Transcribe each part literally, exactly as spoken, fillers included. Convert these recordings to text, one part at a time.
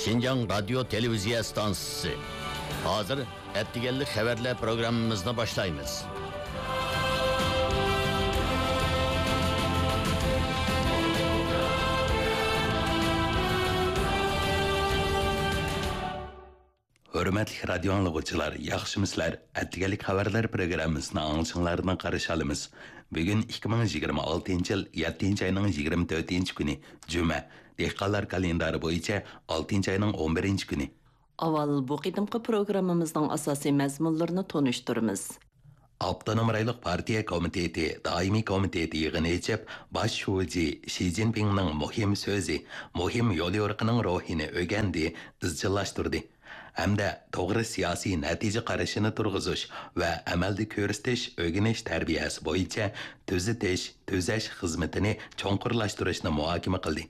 شىنجاڭ رادىيو تېلېۋىزىيە ئىستانسىسى. ھازىر ئەتىگەنلىك خەۋەرلەر پروگراممىمىزنى باشلايمىز. ھۆرمەتلىك رادىيو ئاڭلىغۇچىلار، ياخشىمۇسىلەر؟ ئەتىگەنلىك خەۋەرلەر پروگراممىسىنى ئاڭلىشىڭلاردىن قارشى ئالىمىز. بۈگۈن ئىككى مىڭ يىگىرمە ئالتىنچى يىل يەتتىنچى ئاينىڭ يىگىرمە تۆتىنچى كۈنى، جۈمە. دېھقانلار كالېندارى بويىچە ئالتىنچى ئاينىڭ ئون بىرىنچى كۈنى. ئاۋۋال بۇ قېتىمقى پروگراممىمىزنىڭ ئاساسىي مەزمۇنلىرىنى تونۇشتۇرىمىز. ئاپتونوم رايونلۇق پارتىيە كومىتېتى دائىمىي كومىتېتى يىغىنى ئېچىپ، باش شۇجى شى جىنپىڭنىڭ مۇھىم سۆزى، مۇھىم يوليورۇقىنىڭ روھىنى ئۆگەندى، ئىزچىللاشتۇردى ھەمدە توغرا سىياسىي نەتىجە قارىشىنى تۇرغۇزۇش ۋە ئەمەلدە كۆرسىتىش ئۆگىنىش تەربىيەسى بويىچە تۈزىتىش، تۈزەش خىزمىتىنى چوڭقۇرلاشتۇرۇشنى مۇھاكىمە قىلدى.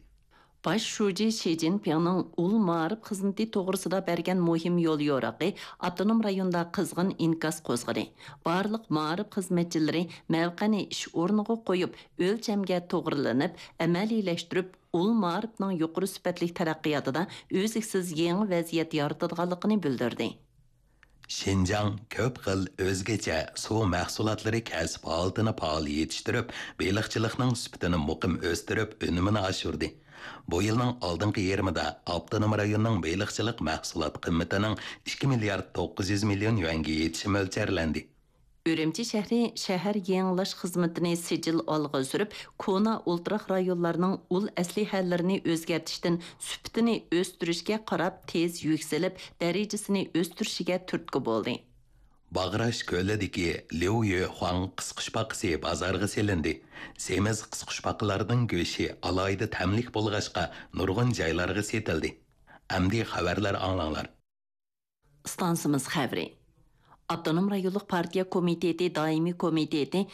باش شۇجى شى جىنپىڭنىڭ ئۇل مائارىپ خىزمىتى توغرىسىدا بەرگەن مۇھىم يوليورۇقى ئاپتونوم رايوندا قىزغىن ئىنكاس قوزغىدى. بارلىق مائارىپ خىزمەتچىلىرى مەۋقەنى ئىش ئورنىغا قويۇپ، ئۆلچەمگە توغرىلىنىپ، ئەمەلىيلەشتۈرۈپ، ئۇل مائارىپنىڭ يۇقىرى سۈپەتلىك تەرەققىياتىدا ئۈزلۈكسىز يېڭى ۋەزىيەت يارىتىدىغانلىقىنى بىلدۈردى. شىنجاڭ كۆپ خىل ئۆزگىچە سۇ مەھسۇلاتلىرى كەسىپ ھالىتىنى پائال يېتىشتۈرۈپ، بېلىقچىلىقنىڭ سۈپىتىنى مۇقىم ئۆستۈرۈپ، ئۈنۈمىنى ئاشۇردى. بۇ يىلنىڭ ئالدىنقى يېرىمىدا ئاپتونوم رايوننىڭ بېلىقچىلىق مەھسۇلات قىممىتىنىڭ ئىككى مىليارد توققۇز يۈز مىليون يۈەنگە يېتىشى مۆلچەرلەندى. ئۈرۈمچى شەھىرى شەھەر يېڭىلاش خىزمىتىنى سىجىل ئالغا سۈرۈپ، كونا ئولتۇراق رايونلارنىڭ ئۇل ئەسلىھەلىرىنى ئۆزگەرتىشتىن سۈپىتىنى ئۆستۈرۈشكە قاراپ تېز يۈكسىلىپ، دەرىجىسىنى ئۆستۈرۈشىگە تۈرتكە بولدى. باغراش كۆلىدىكى ليۇ يۈخۇاڭ قىسقۇچپاقىسى بازارغا سېلىندى. سېمىز قىسقۇچپاقىلارنىڭ گۆشى ئالاھىدە تەملىك بولغاچقا، نۇرغۇن جايلارغا سېتىلدى. ئەمدى خەۋەرلەر ئاڭلاڭلار. ئىستانسىمىز خەۋىرى. ئاپتونوم رايونلۇق پارتىيە كومىتېتى دائىمىي كومىتېتى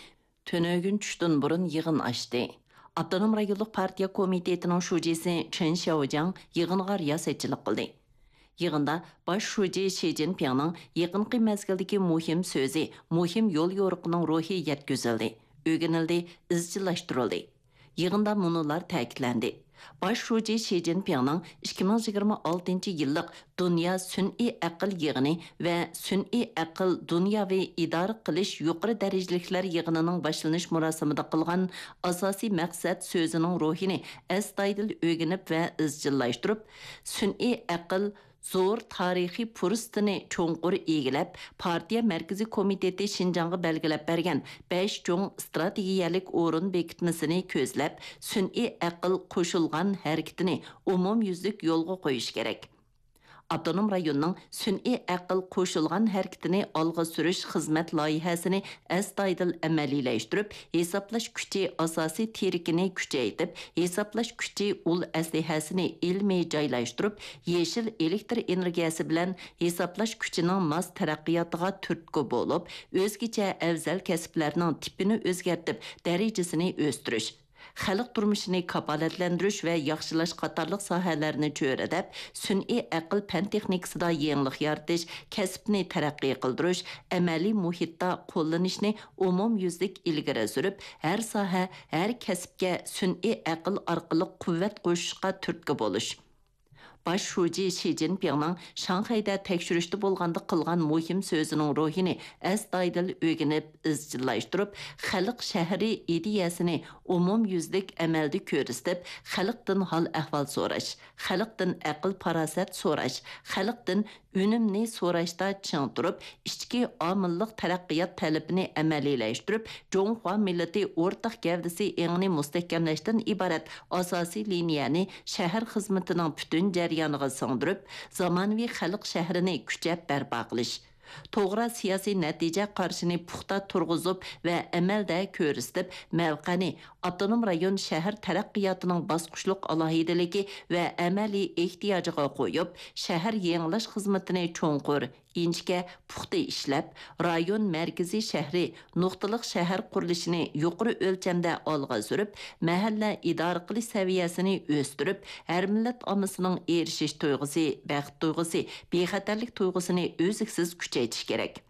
تۈنۈگۈن چۈشتىن بۇرۇن يىغىن ئاچتى. ئاپتونوم رايونلۇق پارتىيە كومىتېتىنىڭ شۇجىسى چېن شياۋجياڭ يىغىنغا رىياسەتچىلىك قىلدى. يىغىندا باش شۇجى شى جىنپىڭنىڭ يېقىنقى مەزگىلدىكى مۇھىم سۆزى، مۇھىم يوليورۇقىنىڭ روھى يەتكۈزۈلدى، ئۆگىنىلدى، ئىزچىللاشتۇرۇلدى. يىغىندا مۇنۇلار تەكىتلەندى: باش شۇجى شى جىنپىڭنىڭ ئىككى مىڭ يىگىرمە ئالتىنچى يىللىق دۇنيا سۈنئىي ئەقىل يىغىنى ۋە سۈنئىي ئەقىل دۇنياۋى ئىدارە قىلىش يۇقىرى دەرىجىلىكلەر يىغىنىنىڭ باشلىنىش مۇراسىمىدا قىلغان ئاساسىي مەقسەت سۆزىنىڭ روھىنى ئەستايىدىل ئۆگىنىپ ۋە ئىزچىللاشتۇرۇپ، سۈنئىي ئەقىل زور تارىخىي پۇرسىتىنى چوڭقۇر ئىگىلەپ، پارتىيە مەركىزىي كومىتېتى شىنجاڭغا بەلگىلەپ بەرگەن بەش چوڭ ئىستراتېگىيەلىك ئورۇن بېكىتمىسىنى كۆزلەپ، سۈنئىي ئەقىل قوشۇلغان ھەرىكىتىنى ئومۇميۈزلۈك يولغا قويۇش كېرەك. ئاپتونوم رايوننىڭ سۈنئىي ئەقىل قوشۇلغان ھەرىكىتىنى ئالغا سۈرۈش خىزمەت لايىھەسىنى ئەستايىدىل ئەمەلىيلەشتۈرۈپ، ھېسابلاش كۈچى ئاساسىي تىرىكىنى كۈچەيتىپ، ھېسابلاش كۈچى ئۇل ئەسلىھەسىنى ئىلمىي جايلاشتۇرۇپ، يېشىل ئېلېكتر ئېنېرگىيەسى بىلەن ھېسابلاش كۈچىنىڭ ماس تەرەققىياتىغا تۈرتكە بولۇپ، ئۆزگىچە ئەۋزەل كەسىپلەرنىڭ تىپىنى ئۆزگەرتىپ، دەرىجىسىنى ئۆستۈرۈش، خەلق تۇرمۇشىنى كاپالەتلەندۈرۈش ۋە ياخشىلاش قاتارلىق ساھەلەرنى چۆرىدەپ، سۈنئىي ئەقىل پەن تېخنىكىسىدا يېڭىلىق يارىتىش، كەسىپنى تەرەققىي قىلدۇرۇش، ئەمەلىي مۇھىتتا قوللىنىشنى ئومۇميۈزلۈك ئىلگىرى سۈرۈپ، ھەر ساھە، ھەر كەسىپكە سۈنئىي ئەقىل ئارقىلىق قۇۋۋەت قوشۇشقا تۈرتكە بولۇش. باش شۇجى شى جىنپىڭنىڭ شاڭخەيدە تەكشۈرۈشتە بولغاندا قىلغان مۇھىم سۆزىنىڭ روھىنى ئەستايىدىل ئۆگىنىپ، ئىزچىللاشتۇرۇپ، خەلق شەھىرى ئىدىيەسىنى ئومۇميۈزلۈك ئەمەلدە كۆرسىتىپ، خەلقتىن ھال-ئەھۋال سوراش، خەلقتىن ئەقىل-پاراسەت سوراش، خەلقتىن ئۈنۈمنى سوراشتا چىڭ تۇرۇپ، ئىچكى ئامىللىق تەرەققىيات تەلىپىنى ئەمەلىيلەشتۈرۈپ، جۇڭخۇا مىللىتى ئورتاق گەۋدىسى ئېڭىنى مۇستەھكەملەشتىن ئىبارەت ئاساسىي لىنىيەنى شەھەر خىزمىتىنىڭ پۈتۈن جەريانىغا سىڭدۈرۈپ، زامانىۋى خەلق شەھىرىنى كۈچەپ بەرپا قىلىش، توغرا سىياسىي نەتىجە قارىشىنى پۇختا تۇرغۇزۇپ ۋە ئەمەلدە كۆرسىتىپ، مەۋقەنى ئاپتونوم رايون شەھەر تەرەققىياتىنىڭ باسقۇچلۇق ئالاھىدىلىكى ۋە ئەمەلىي ئېھتىياجىغا قويۇپ، شەھەر يېڭىلاش خىزمىتىنى چوڭقۇر، ئىنچىكە، پۇختا ئىشلەپ، رايون مەركىزىي شەھىرى نۇقتىلىق شەھەر قۇرۇلۇشىنى يۇقىرى ئۆلچەمدە ئالغا سۈرۈپ، مەھەللە ئىدارە قىلىش سەۋىيەسىنى ئۆستۈرۈپ، ھەر مىللەت ئاممىسىنىڭ ئېرىشىش تۇيغۇسى، بەخت تۇيغۇسى، بىخەتەرلىك تۇيغۇسىنى ئۈزلۈكسىز كۈچەيتىش كېرەك.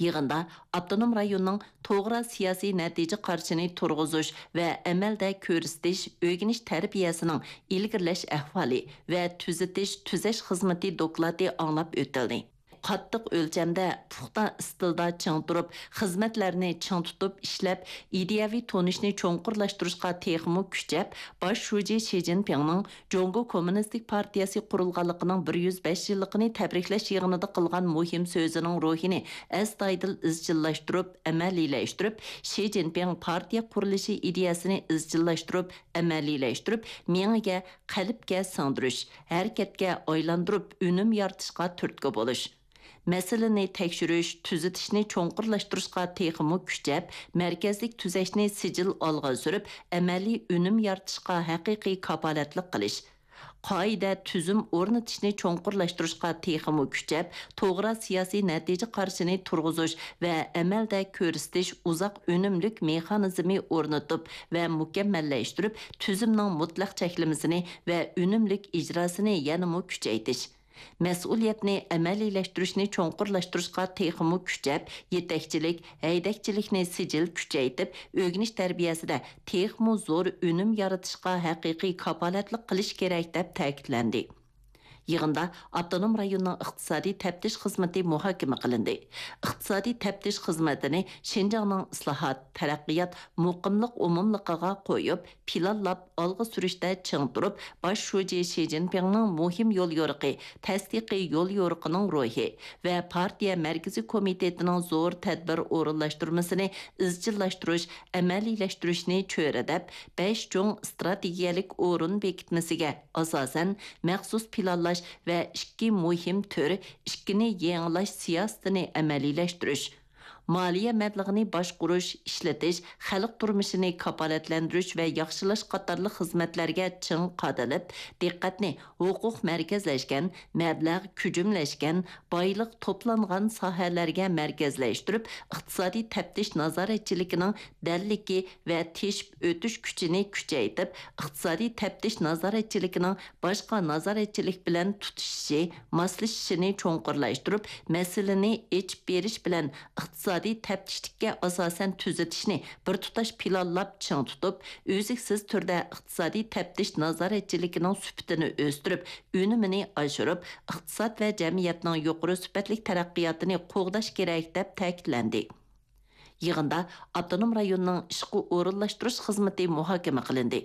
يىغىندا ئاپتونوم رايوننىڭ توغرا سىياسىي نەتىجە قارىشىنى تۇرغۇزۇش ۋە ئەمەلدە كۆرسىتىش، ئۆگىنىش تەربىيەسىنىڭ ئىلگىرىلەش ئەھۋالى ۋە تۈزىتىش، تۈزەش خىزمىتى دوكلاتى ئاڭلاپ ئۆتۈلدى. قاتتىق ئۆلچەمدە، پۇختا ئىستىلدا چىڭ تۇرۇپ، خىزمەتلەرنى چىڭ تۇتۇپ ئىشلەپ، ئىدىيەۋى تونۇشنى چوڭقۇرلاشتۇرۇشقا تېخىمۇ كۈچەپ، باش شۇجى شى جىنپىڭنىڭ جۇڭگو كوممۇنىستىك پارتىيەسى قۇرۇلغانلىقىنىڭ بىر يۈز بەش يىللىقىنى تەبرىكلەش يىغىنىدا قىلغان مۇھىم سۆزىنىڭ روھىنى ئەستايىدىل ئىزچىللاشتۇرۇپ، ئەمەلىيلەشتۈرۈپ، شى جىنپىڭ پارتىيە قۇرۇلۇشى ئىدىيەسىنى ئىزچىللاشتۇرۇپ، ئەمەلىيلەشتۈرۈپ، مېڭىگە، قەلبكە سىڭدۈرۈش، ھەرىكەتكە ئايلاندۇرۇپ، ئۈنۈم يارىتىشقا تۈرتكە بولۇش. مەسىلىنى تەكشۈرۈش، تۈزىتىشنى چوڭقۇرلاشتۇرۇشقا تېخىمۇ كۈچەپ، مەركەزلىك تۈزەشنى سىجىل ئالغا سۈرۈپ، ئەمەلىي ئۈنۈم يارىتىشقا ھەقىقىي كاپالەتلىك قىلىش. قائىدە، تۈزۈم ئورنىتىشنى چوڭقۇرلاشتۇرۇشقا تېخىمۇ كۈچەپ، توغرا سىياسىي نەتىجە قارىشىنى تۇرغۇزۇش ۋە ئەمەلدە كۆرسىتىش ئۇزاق ئۈنۈملۈك مېخانىزمى ئورنىتىپ ۋە مۇكەممەللەشتۈرۈپ، تۈزۈمنىڭ مۇتلەق چەكلىمىسىنى ۋە ئۈنۈملۈك ئىجراسىنى يەنىمۇ كۈچەيتىش. مەسئۇلىيەتنى ئەمەلىيلەشتۈرۈشنى چوڭقۇرلاشتۇرۇشقا تېخىمۇ كۈچەپ، يېتەكچىلىك، ھەيدەكچىلىكنى سىجىل كۈچەيتىپ، ئۆگىنىش تەربىيەسىدە تېخىمۇ زور ئۈنۈم يارىتىشقا ھەقىقىي كاپالەتلىك قىلىش كېرەك، دەپ تەكىتلەندى. يىغىندا ئاپتونوم رايوننىڭ ئىقتىسادىي تەپتىش خىزمىتى مۇھاكىمە قىلىندى. ئىقتىسادىي تەپتىش خىزمىتىنى شىنجاڭنىڭ ئىسلاھات، تەرەققىيات، مۇقىملىق ئومۇملۇقىغا قويۇپ، پىلانلاپ ئالغا سۈرۈشتە چىڭ تۇرۇپ، باش شۇجى شى جىنپىڭنىڭ مۇھىم يوليورۇقى، تەستىقىي يوليورۇقىنىڭ روھى ۋە پارتىيە مەركىزىي كومىتېتىنىڭ زور تەدبىر ئورۇنلاشتۇرمىسىنى ئىزچىللاشتۇرۇش، ئەمەلىيلەشتۈرۈشنى چۆرىدەپ، بەش چوڭ ئىستراتېگىيەلىك ئورۇن بېكىتمىسىگە ئاساسەن، مەخسۇس پىلانلاش ۋە ئىككى مۇھىم تۈر، ئىككىنى يېڭىلاش سىياسىتىنى ئەمەلىيلەشتۈرۈش، مالىيە مەبلىغىنى باشقۇرۇش، ئىشلىتىش، خەلق تۇرمۇشىنى كاپالەتلەندۈرۈش ۋە ياخشىلاش قاتارلىق خىزمەتلەرگە چىڭ قادىلىپ، دىققەتنى ھوقۇق مەركەزلەشكەن، مەبلەغ كۈجۈملەشكەن، بايلىق توپلانغان ساھەلەرگە مەركەزلەشتۈرۈپ، ئىقتىسادىي تەپتىش نازارەتچىلىكىنىڭ دەللىكى ۋە تېشىپ ئۆتۈش كۈچىنى كۈچەيتىپ، ئىقتىسادىي تەپتىش نازارەتچىلىكىنىڭ باشقا نازارەتچىلىك بىلەن تۇتىشىشى، ماسلىشىشىنى چوڭقۇرلاشتۇرۇپ، مەسىلىنى ئېچىپ بېرىش بىلەن ئىقتىسادىي تەپتىشلىككە ئاساسەن تۈزىتىشنى بىر تۇتاش پىلانلاپ چىڭ تۇتۇپ، ئۈزلۈكسىز تۈردە ئىقتىسادىي تەپتىش نازارەتچىلىكىنىڭ سۈپىتىنى ئۆستۈرۈپ، ئۈنۈمىنى ئاشۇرۇپ، ئىقتىساد ۋە جەمئىيەتنىڭ يۇقىرى سۈپەتلىك تەرەققىياتىنى قوغداش كېرەك، دەپ تەكىتلەندى. يىغىندا ئاپتونوم رايوننىڭ ئىشقا ئورۇنلاشتۇرۇش خىزمىتى مۇھاكىمە قىلىندى.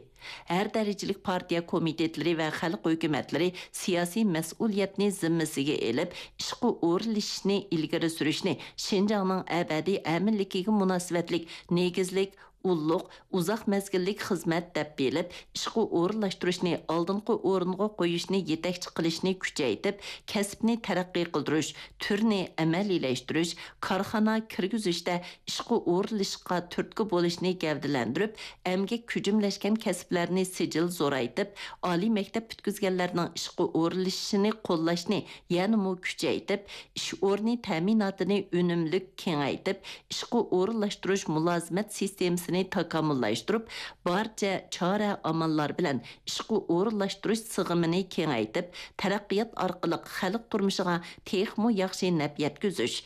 ھەر دەرىجىلىك پارتىيە كومىتېتلىرى ۋە خەلق ھۆكۈمەتلىرى سىياسىي مەسئۇلىيەتنى زىممىسىگە ئېلىپ، ئىشقا ئورۇنلىشىشنى ئىلگىرى سۈرۈشنى شىنجاڭنىڭ ئەبەدىي ئەمىنلىكىگە مۇناسىۋەتلىك نېگىزلىك، ئۇللۇق، ئۇزاق مەزگىللىك خىزمەت دەپ بىلىپ، ئىشقا ئورۇنلاشتۇرۇشنى ئالدىنقى ئورۇنغا قويۇشنى يېتەكچى قىلىشنى كۈچەيتىپ، كەسىپنى تەرەققىي قىلدۇرۇش، تۈرنى ئەمەلىيلەشتۈرۈش، كارخانا كىرگۈزۈشتە ئىشقا ئورۇنلىشىشقا تۈرتكە بولۇشنى گەۋدىلەندۈرۈپ، ئەمگەك كۈجۈملەشكەن كەسىپلەرنى سىجىل زورايتىپ، ئالىي مەكتەپ پۈتكۈزگەنلەرنىڭ ئىشقا ئورۇنلىشىشىنى قوللاشنى يەنىمۇ كۈچەيتىپ، ئىش ئورنى تەمىناتىنى ئۈنۈملۈك كېڭەيتىپ، ئىشقا ئورۇنلاشتۇرۇش مۇلازىمەت سىستېمىسىنى تاكامۇللاشتۇرۇپ، بارچە چارە-ئاماللار بىلەن ئىشقا ئورۇنلاشتۇرۇش سىغىمىنى كېڭەيتىپ، تەرەققىيات ئارقىلىق خەلق تۇرمۇشىغا تېخىمۇ ياخشى نەپ يەتكۈزۈش،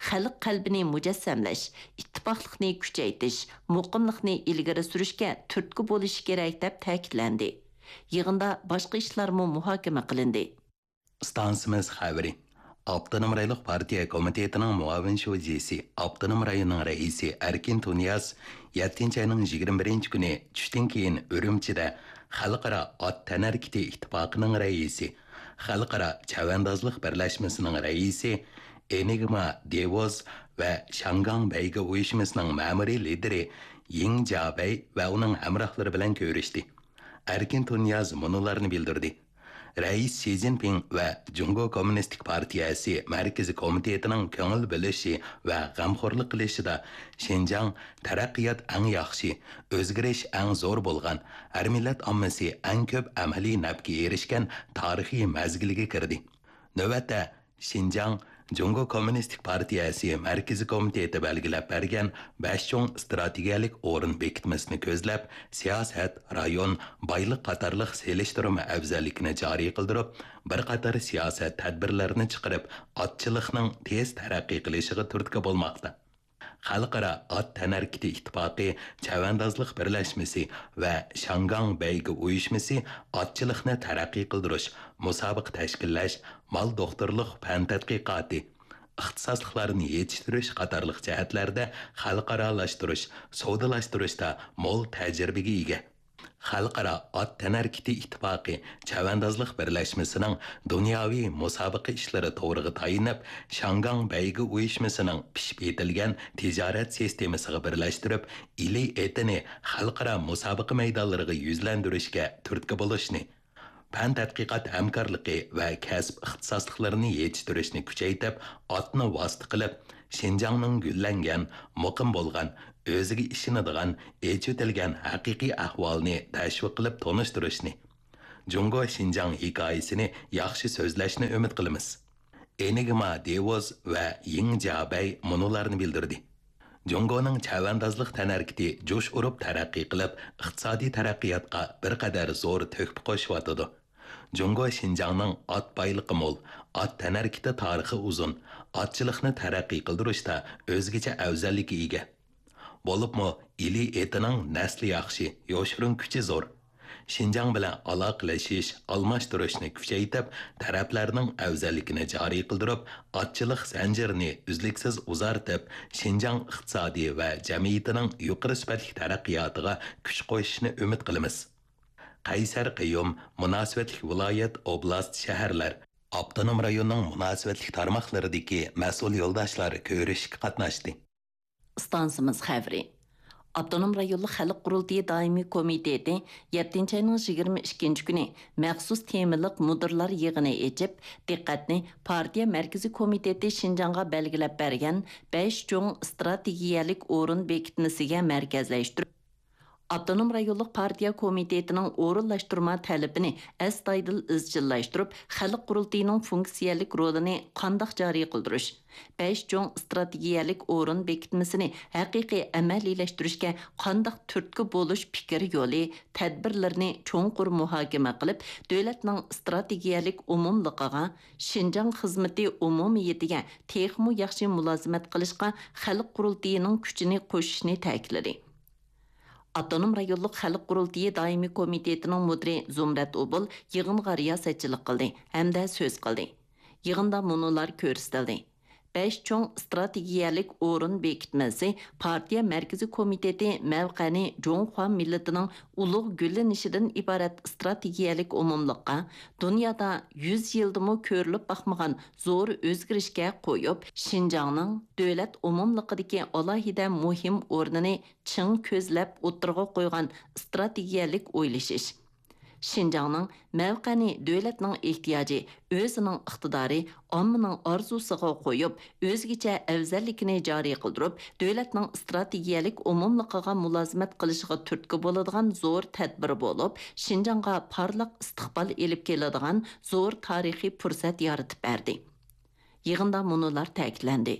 خەلق قەلبىنى مۇجەسسەملەش، ئىتتىپاقلىقنى كۈچەيتىش، مۇقىملىقنى ئىلگىرى سۈرۈشكە تۈرتكە بولۇشى كېرەك، دەپ تەكىتلەندى. يىغىندا باشقا ئىشلارمۇ مۇھاكىمە قىلىندى. ئىستانسىمىز خەۋىرى. ئاپتونوم رايونلۇق پارتىيە كومىتېتىنىڭ مۇئاۋىن شۇجىسى، ئاپتونوم رايوننىڭ رەئىسى ئەركىن تۇنىياز يەتتىنچى ئاينىڭ يىگىرمە بىرىنچى كۈنى چۈشتىن كېيىن ئۈرۈمچىدە خەلقئارا ئات تەنھەرىكىتى ئىتتىپاقىنىڭ رەئىسى، خەلقئارا چەۋەندازلىق بىرلەشمىسىنىڭ رەئىسى، ئېنىگما دېۋوز ۋە شياڭگاڭ بەيگە ئۇيۇشمىسىنىڭ مەمۇرىي لىدىرى يىڭ جيابەي ۋە ئۇنىڭ ھەمراھلىرى بىلەن كۆرۈشتى. ئەركىن تۇنىياز مۇنۇلارنى بىلدۈردى. رەئىس شى جىنپىڭ ۋە جۇڭگو كوممۇنىستىك پارتىيەسى مەركىزىي كومىتېتىنىڭ كۆڭۈل بۆلۈشى ۋە غەمخورلۇق قىلىشىدا شىنجاڭ تەرەققىيات ئەڭ ياخشى، ئۆزگىرىش ئەڭ زور بولغان، ھەر مىللەت ئاممىسى ئەڭ كۆپ ئەمەلىي نەپكە ئېرىشكەن تارىخىي مەزگىلگە كىردى. نۆۋەتتە، شىنجاڭ جۇڭگو كوممۇنىستىك پارتىيەسى مەركىزىي كومىتېتى بەلگىلەپ بەرگەن بەش چوڭ ئىستراتېگىيەلىك ئورۇن بېكىتمىسىنى كۆزلەپ، سىياسەت، رايون، بايلىق قاتارلىق سېلىشتۇرما ئەۋزەللىكىنى جارى قىلدۇرۇپ، بىر قاتار سىياسەت تەدبىرلىرىنى چىقىرىپ، ئاتچىلىقنىڭ تېز تەرەققىي قىلىشىغا تۈرتكە بولماقتا. خەلقئارا ئات تەنھەرىكىتى ئىتتىپاقى چەۋەندازلىق بىرلەشمىسى ۋە شياڭگاڭ بەيگە ئۇيۇشمىسى ئاتچىلىقنى تەرەققىي قىلدۇرۇش، مۇسابىقە تەشكىللەش، مال دوختۇرلۇق پەن تەتقىقاتى، ئىختىساسلىقلارنى يېتىشتۈرۈش قاتارلىق جەھەتلەردە خەلقئارالاشتۇرۇش، سودىلاشتۇرۇشتا مول تەجرىبىگە ئىگە. خەلقئارا ئات تەنھەرىكىتى ئىتتىپاقى چەۋەندازلىق بىرلەشمىسىنىڭ دۇنياۋى مۇسابىقە ئىشلىرى تورىغا تايىنىپ، شياڭگاڭ بەيگە ئۇيۇشمىسىنىڭ پىشىپ يېتىلگەن تىجارەت سىستېمىسىغا بىرلەشتۈرۈپ، ئىلى ئېتىنى خەلقئارا مۇسابىقە مەيدانلىرىغا يۈزلەندۈرۈشكە تۈرتكە بولۇشنى، پەن تەتقىقات ھەمكارلىقى ۋە كەسىپ ئىختىساسلىقلىرىنى يېتىشتۈرۈشنى كۈچەيتىپ، ئاتنى ۋاسىتە قىلىپ، شىنجاڭنىڭ گۈللەنگەن، مۇقىم بولغان، ئۆزىگە ئىشىنىدىغان، ئېچىۋېتىلگەن ھەقىقىي ئەھۋالىنى تەشۋىق قىلىپ تونۇشتۇرۇشنى، جۇڭگو شىنجاڭ ھېكايىسىنى ياخشى سۆزلەشنى ئۈمىد قىلىمىز. ئېنىگما دېۋوز ۋە يىڭ جيابەي مۇنۇلارنى بىلدۈردى. جۇڭگونىڭ چەۋەندازلىق تەنھەرىكىتى جۇش ئۇرۇپ تەرەققىي قىلىپ، ئىقتىسادىي تەرەققىياتقا بىر قەدەر زور تۆھپە قوشۇۋاتىدۇ. جۇڭگو شىنجاڭنىڭ ئات بايلىقى مول، ئات تەنھەرىكىتى تارىخى ئۇزۇن، ئاتچىلىقنى تەرەققىي قىلدۇرۇشتا ئۆزگىچە ئەۋزەللىككە ئىگە. بولۇپمۇ ئىلى ئېتىنىڭ نەسلى ياخشى، يوشۇرۇن كۈچى زور. شىنجاڭ بىلەن ئالاقىلىشىش، ئالماشتۇرۇشنى كۈچەيتىپ، تەرەپلەرنىڭ ئەۋزەللىكىنى جارى قىلدۇرۇپ، ئاتچىلىق زەنجىرىنى ئۈزلۈكسىز ئۇزارتىپ، شىنجاڭ ئىقتىسادى ۋە جەمئىيىتىنىڭ يۇقىرى سۈپەتلىك تەرەققىياتىغا كۈچ قوشۇشنى ئۈمىد قىلىمىز. قەيسەر قىيۇم، مۇناسىۋەتلىك ۋىلايەت، ئوبلاست، شەھەرلەر، ئاپتونوم رايوننىڭ مۇناسىۋەتلىك تارماقلىرىدىكى مەسئۇل يولداشلار كۆرۈشۈشكە قاتناشتى. ئىستانسىمىز خەۋىرى. ئاپتونوم رايونلۇق خەلق قۇرۇلتىيى دائىمىي كومىتېتى يەتتىنچى ئاينىڭ يىگىرمە ئىككىنچى كۈنى مەخسۇس تېمىلىق مۇدىرلار يىغىنى ئېچىپ، دىققەتنى پارتىيە مەركىزىي كومىتېتى شىنجاڭغا بەلگىلەپ بەرگەن بەش چوڭ ئىستراتېگىيەلىك ئورۇن بېكىتمىسىگە مەركەزلەشتۈرۈپ، ئاپتونوم رايونلۇق پارتىيە كومىتېتىنىڭ ئورۇنلاشتۇرما تەلىپىنى ئەستايىدىل ئىزچىللاشتۇرۇپ، خەلق قۇرۇلتىيىنىڭ فۇنكسىيەلىك رولىنى قانداق جارى قىلدۇرۇش، بەش چوڭ ئىستراتېگىيەلىك ئورۇن بېكىتمىسىنى ھەقىقىي ئەمەلىيلەشتۈرۈشكە قانداق تۈرتكە بولۇش پىكىر يولى، تەدبىرلىرىنى چوڭقۇر مۇھاكىمە قىلىپ، دۆلەتنىڭ ئىستراتېگىيەلىك ئومۇملۇقىغا، شىنجاڭ خىزمىتى ئومۇمىيىتىگە تېخىمۇ ياخشى مۇلازىمەت قىلىشقا خەلق قۇرۇلتىيىنىڭ كۈچىنى قوشۇشنى تەكىتلىدى. ئاپتونوم رايونلۇق خەلق قۇرۇلتىيى دائىمىي كومىتېتىنىڭ مۇدىرى زۇمرەت ئوبۇل يىغىنغا رىياسەتچىلىك قىلدى ھەمدە سۆز قىلدى. يىغىندا مۇنۇلار كۆرسىتىلدى: بەش چوڭ ئىستراتېگىيەلىك ئورۇن بېكىتمىسى پارتىيە مەركىزىي كومىتېتى مەۋقەنى جۇڭخۇا مىللىتىنىڭ ئۇلۇغ گۈللىنىشىدىن ئىبارەت ئىستراتېگىيەلىك ئومۇملۇققا، دۇنيادا يۈز يىلدىمۇ كۆرۈلۈپ باقمىغان زور ئۆزگىرىشكە قويۇپ، شىنجاڭنىڭ دۆلەت ئومۇملۇقىدىكى ئالاھىدە مۇھىم ئورنىنى چىڭ كۆزلەپ ئوتتۇرىغا قويغان ئىستراتېگىيەلىك ئويلىشىش. شىنجاڭنىڭ مەۋقەنى دۆلەتنىڭ ئېھتىياجى، ئۆزىنىڭ ئىقتىدارى، ئاممىنىڭ ئارزۇسىغا قويۇپ، ئۆزگىچە ئەۋزەللىكىنى جارى قىلدۇرۇپ، دۆلەتنىڭ ئىستراتېگىيەلىك ئومۇملۇقىغا مۇلازىمەت قىلىشىغا تۈرتكە بولىدىغان زور تەدبىر بولۇپ، شىنجاڭغا پارلاق ئىستىقبال ئېلىپ كېلىدىغان زور تارىخىي پۇرسەت يارىتىپ بەردى. يىغىندا مۇنۇلار تەكىتلەندى: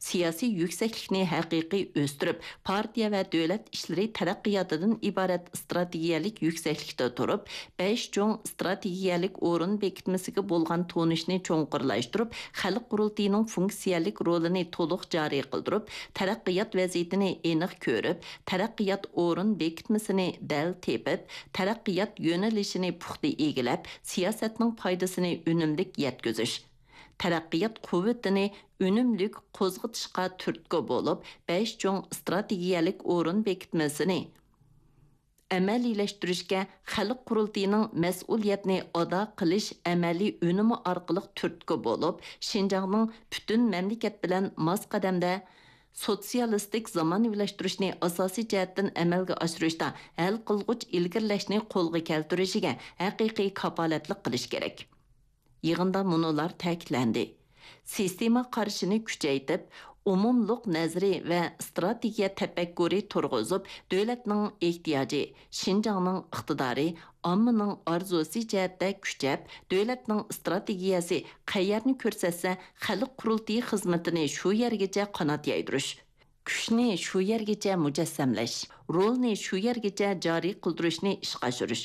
سىياسىي يۈكسەكلىكنى ھەقىقىي ئۆستۈرۈپ، پارتىيە ۋە دۆلەت ئىشلىرى تەرەققىياتىدىن ئىبارەت ئىستراتېگىيەلىك يۈكسەكلىكتە تۇرۇپ، بەش چوڭ ئىستراتېگىيەلىك ئورۇن بېكىتمىسىگە بولغان تونۇشنى چوڭقۇرلاشتۇرۇپ، خەلق قۇرۇلتىيىنىڭ فۇنكسىيەلىك رولىنى تولۇق جارى قىلدۇرۇپ، تەرەققىيات ۋەزىيىتىنى ئېنىق كۆرۈپ، تەرەققىيات ئورۇن بېكىتمىسىنى دەل تېپىپ، تەرەققىيات يۆنىلىشىنى پۇختا ئىگىلەپ، سىياسەتنىڭ پايدىسىنى ئۈنۈملۈك يەتكۈزۈش، تەرەققىيات قۇۋۋىتىنى ئۈنۈملۈك قوزغىتىشقا تۈرتكە بولۇپ، بەش چوڭ ئىستراتېگىيەلىك ئورۇن بېكىتمىسىنى ئەمەلىيلەشتۈرۈشكە خەلق قۇرۇلتىيىنىڭ مەسئۇلىيەتنى ئادا قىلىش ئەمەلىي ئۈنۈمى ئارقىلىق تۈرتكە بولۇپ، شىنجاڭنىڭ پۈتۈن مەملىكەت بىلەن ماس قەدەمدە سوتسىيالىستىك زامانىۋىلاشتۇرۇشنى ئاساسىي جەھەتتىن ئەمەلگە ئاشۇرۇشتا ھەل قىلغۇچ ئىلگىرىلەشنى قولغا كەلتۈرۈشىگە ھەقىقىي كاپالەتلىك قىلىش كېرەك. يىغىندا مۇنۇلار تەكىتلەندى: سىستېما قارىشىنى كۈچەيتىپ، ئومۇملۇق نەزىرى ۋە ئىستراتېگىيە تەپەككۇرى تۇرغۇزۇپ، دۆلەتنىڭ ئېھتىياجى، شىنجاڭنىڭ ئىقتىدارى، ئاممىنىڭ ئارزۇسى جەھەتتە كۈچەپ، دۆلەتنىڭ ئىستراتېگىيەسى قەيەرنى كۆرسەتسە، خەلق قۇرۇلتىيى خىزمىتىنى شۇ يەرگىچە قانات يايدۇرۇش، كۈچنى شۇ يەرگىچە مۇجەسسەملەش، رولنى شۇ يەرگىچە جارى قىلدۇرۇشنى ئىشقا ئاشۇرۇش.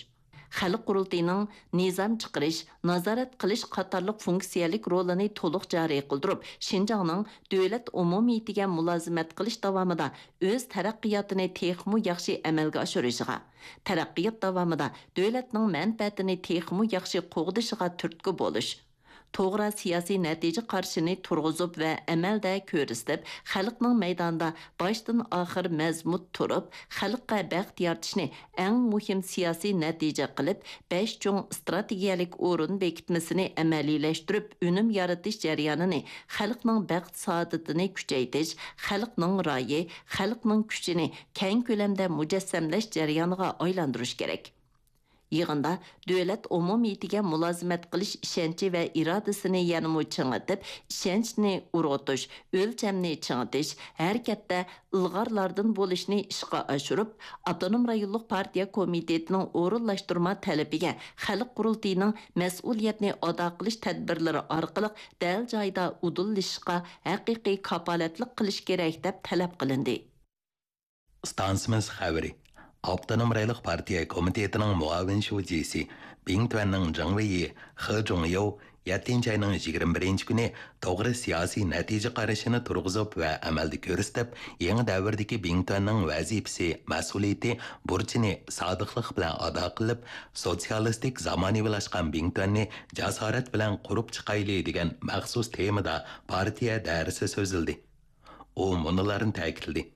خەلق قۇرۇلتىيىنىڭ نىزام چىقىرىش، نازارەت قىلىش قاتارلىق فۇنكسىيەلىك رولىنى تولۇق جارى قىلدۇرۇپ، شىنجاڭنىڭ دۆلەت ئومۇمىيىتىگە مۇلازىمەت قىلىش داۋامىدا ئۆز تەرەققىياتىنى تېخىمۇ ياخشى ئەمەلگە ئاشۇرۇشىغا، تەرەققىيات داۋامىدا دۆلەتنىڭ مەنپەئەتىنى تېخىمۇ ياخشى قوغدىشىغا تۈرتكە بولۇش، توغرا سىياسىي نەتىجە قارىشىنى تۇرغۇزۇپ ۋە ئەمەلدە كۆرسىتىپ، خەلقنىڭ مەيدانىدا باشتىن ئاخىر مەزمۇت تۇرۇپ، خەلققە بەخت يارىتىشنى ئەڭ مۇھىم سىياسىي نەتىجە قىلىپ، بەش چوڭ ئىستراتېگىيەلىك ئورۇن بېكىتمىسىنى ئەمەلىيلەشتۈرۈپ، ئۈنۈم يارىتىش جەريانىنى خەلقنىڭ بەخت-سائادىتىنى كۈچەيتىش، خەلقنىڭ رايى، خەلقنىڭ كۈچىنى كەڭ كۆلەمدە مۇجەسسەملەش جەريانىغا ئايلاندۇرۇش كېرەك. يىغىندا دۆلەت ئومۇمىيىتىگە مۇلازىمەت قىلىش ئىشەنچى ۋە ئىرادىسىنى يەنىمۇ چىڭىتىپ، ئىشەنچنى ئۇرغۇتۇش، ئۆلچەمنى چىڭىتىش، ھەرىكەتتە ئىلغارلاردىن بولۇشنى ئىشقا ئاشۇرۇپ، ئاپتونوم رايونلۇق پارتىيە كومىتېتىنىڭ ئورۇنلاشتۇرما تەلىپىگە خەلق قۇرۇلتىيىنىڭ مەسئۇلىيەتنى ئادا قىلىش تەدبىرلىرى ئارقىلىق دەل جايىدا ئۇدۇللىشىشقا ھەقىقىي كاپالەتلىك قىلىش كېرەك، دەپ تەلەپ قىلىندى. ئىستانسىمىز خەۋىرى. ئاپتونوم رايونلۇق پارتىيە كومىتېتىنىڭ مۇئاۋىن شۇجىسى، بىڭتۈەننىڭ جېڭ ۋېيى، خې جۇڭياۋ يەتتىنچى ئاينىڭ يىگىرمە بىرىنچى كۈنى توغرا سىياسىي نەتىجە قارىشىنى تۇرغۇزۇپ ۋە ئەمەلدە كۆرسىتىپ، يېڭى دەۋردىكى بىڭتۈەننىڭ ۋەزىپىسى، مەسئۇلىيىتى، بۇرچىنى سادىقلىق بىلەن ئادا قىلىپ، سوتسىيالىستىك زامانىۋىلاشقان بىڭتۈەننى جاسارەت بىلەن قۇرۇپ چىقايلى دېگەن مەخسۇس تېمىدا پارتىيە دائىرىسى سۆزلىدى. ئۇ مۇنۇلارنى تەكىتلىدى.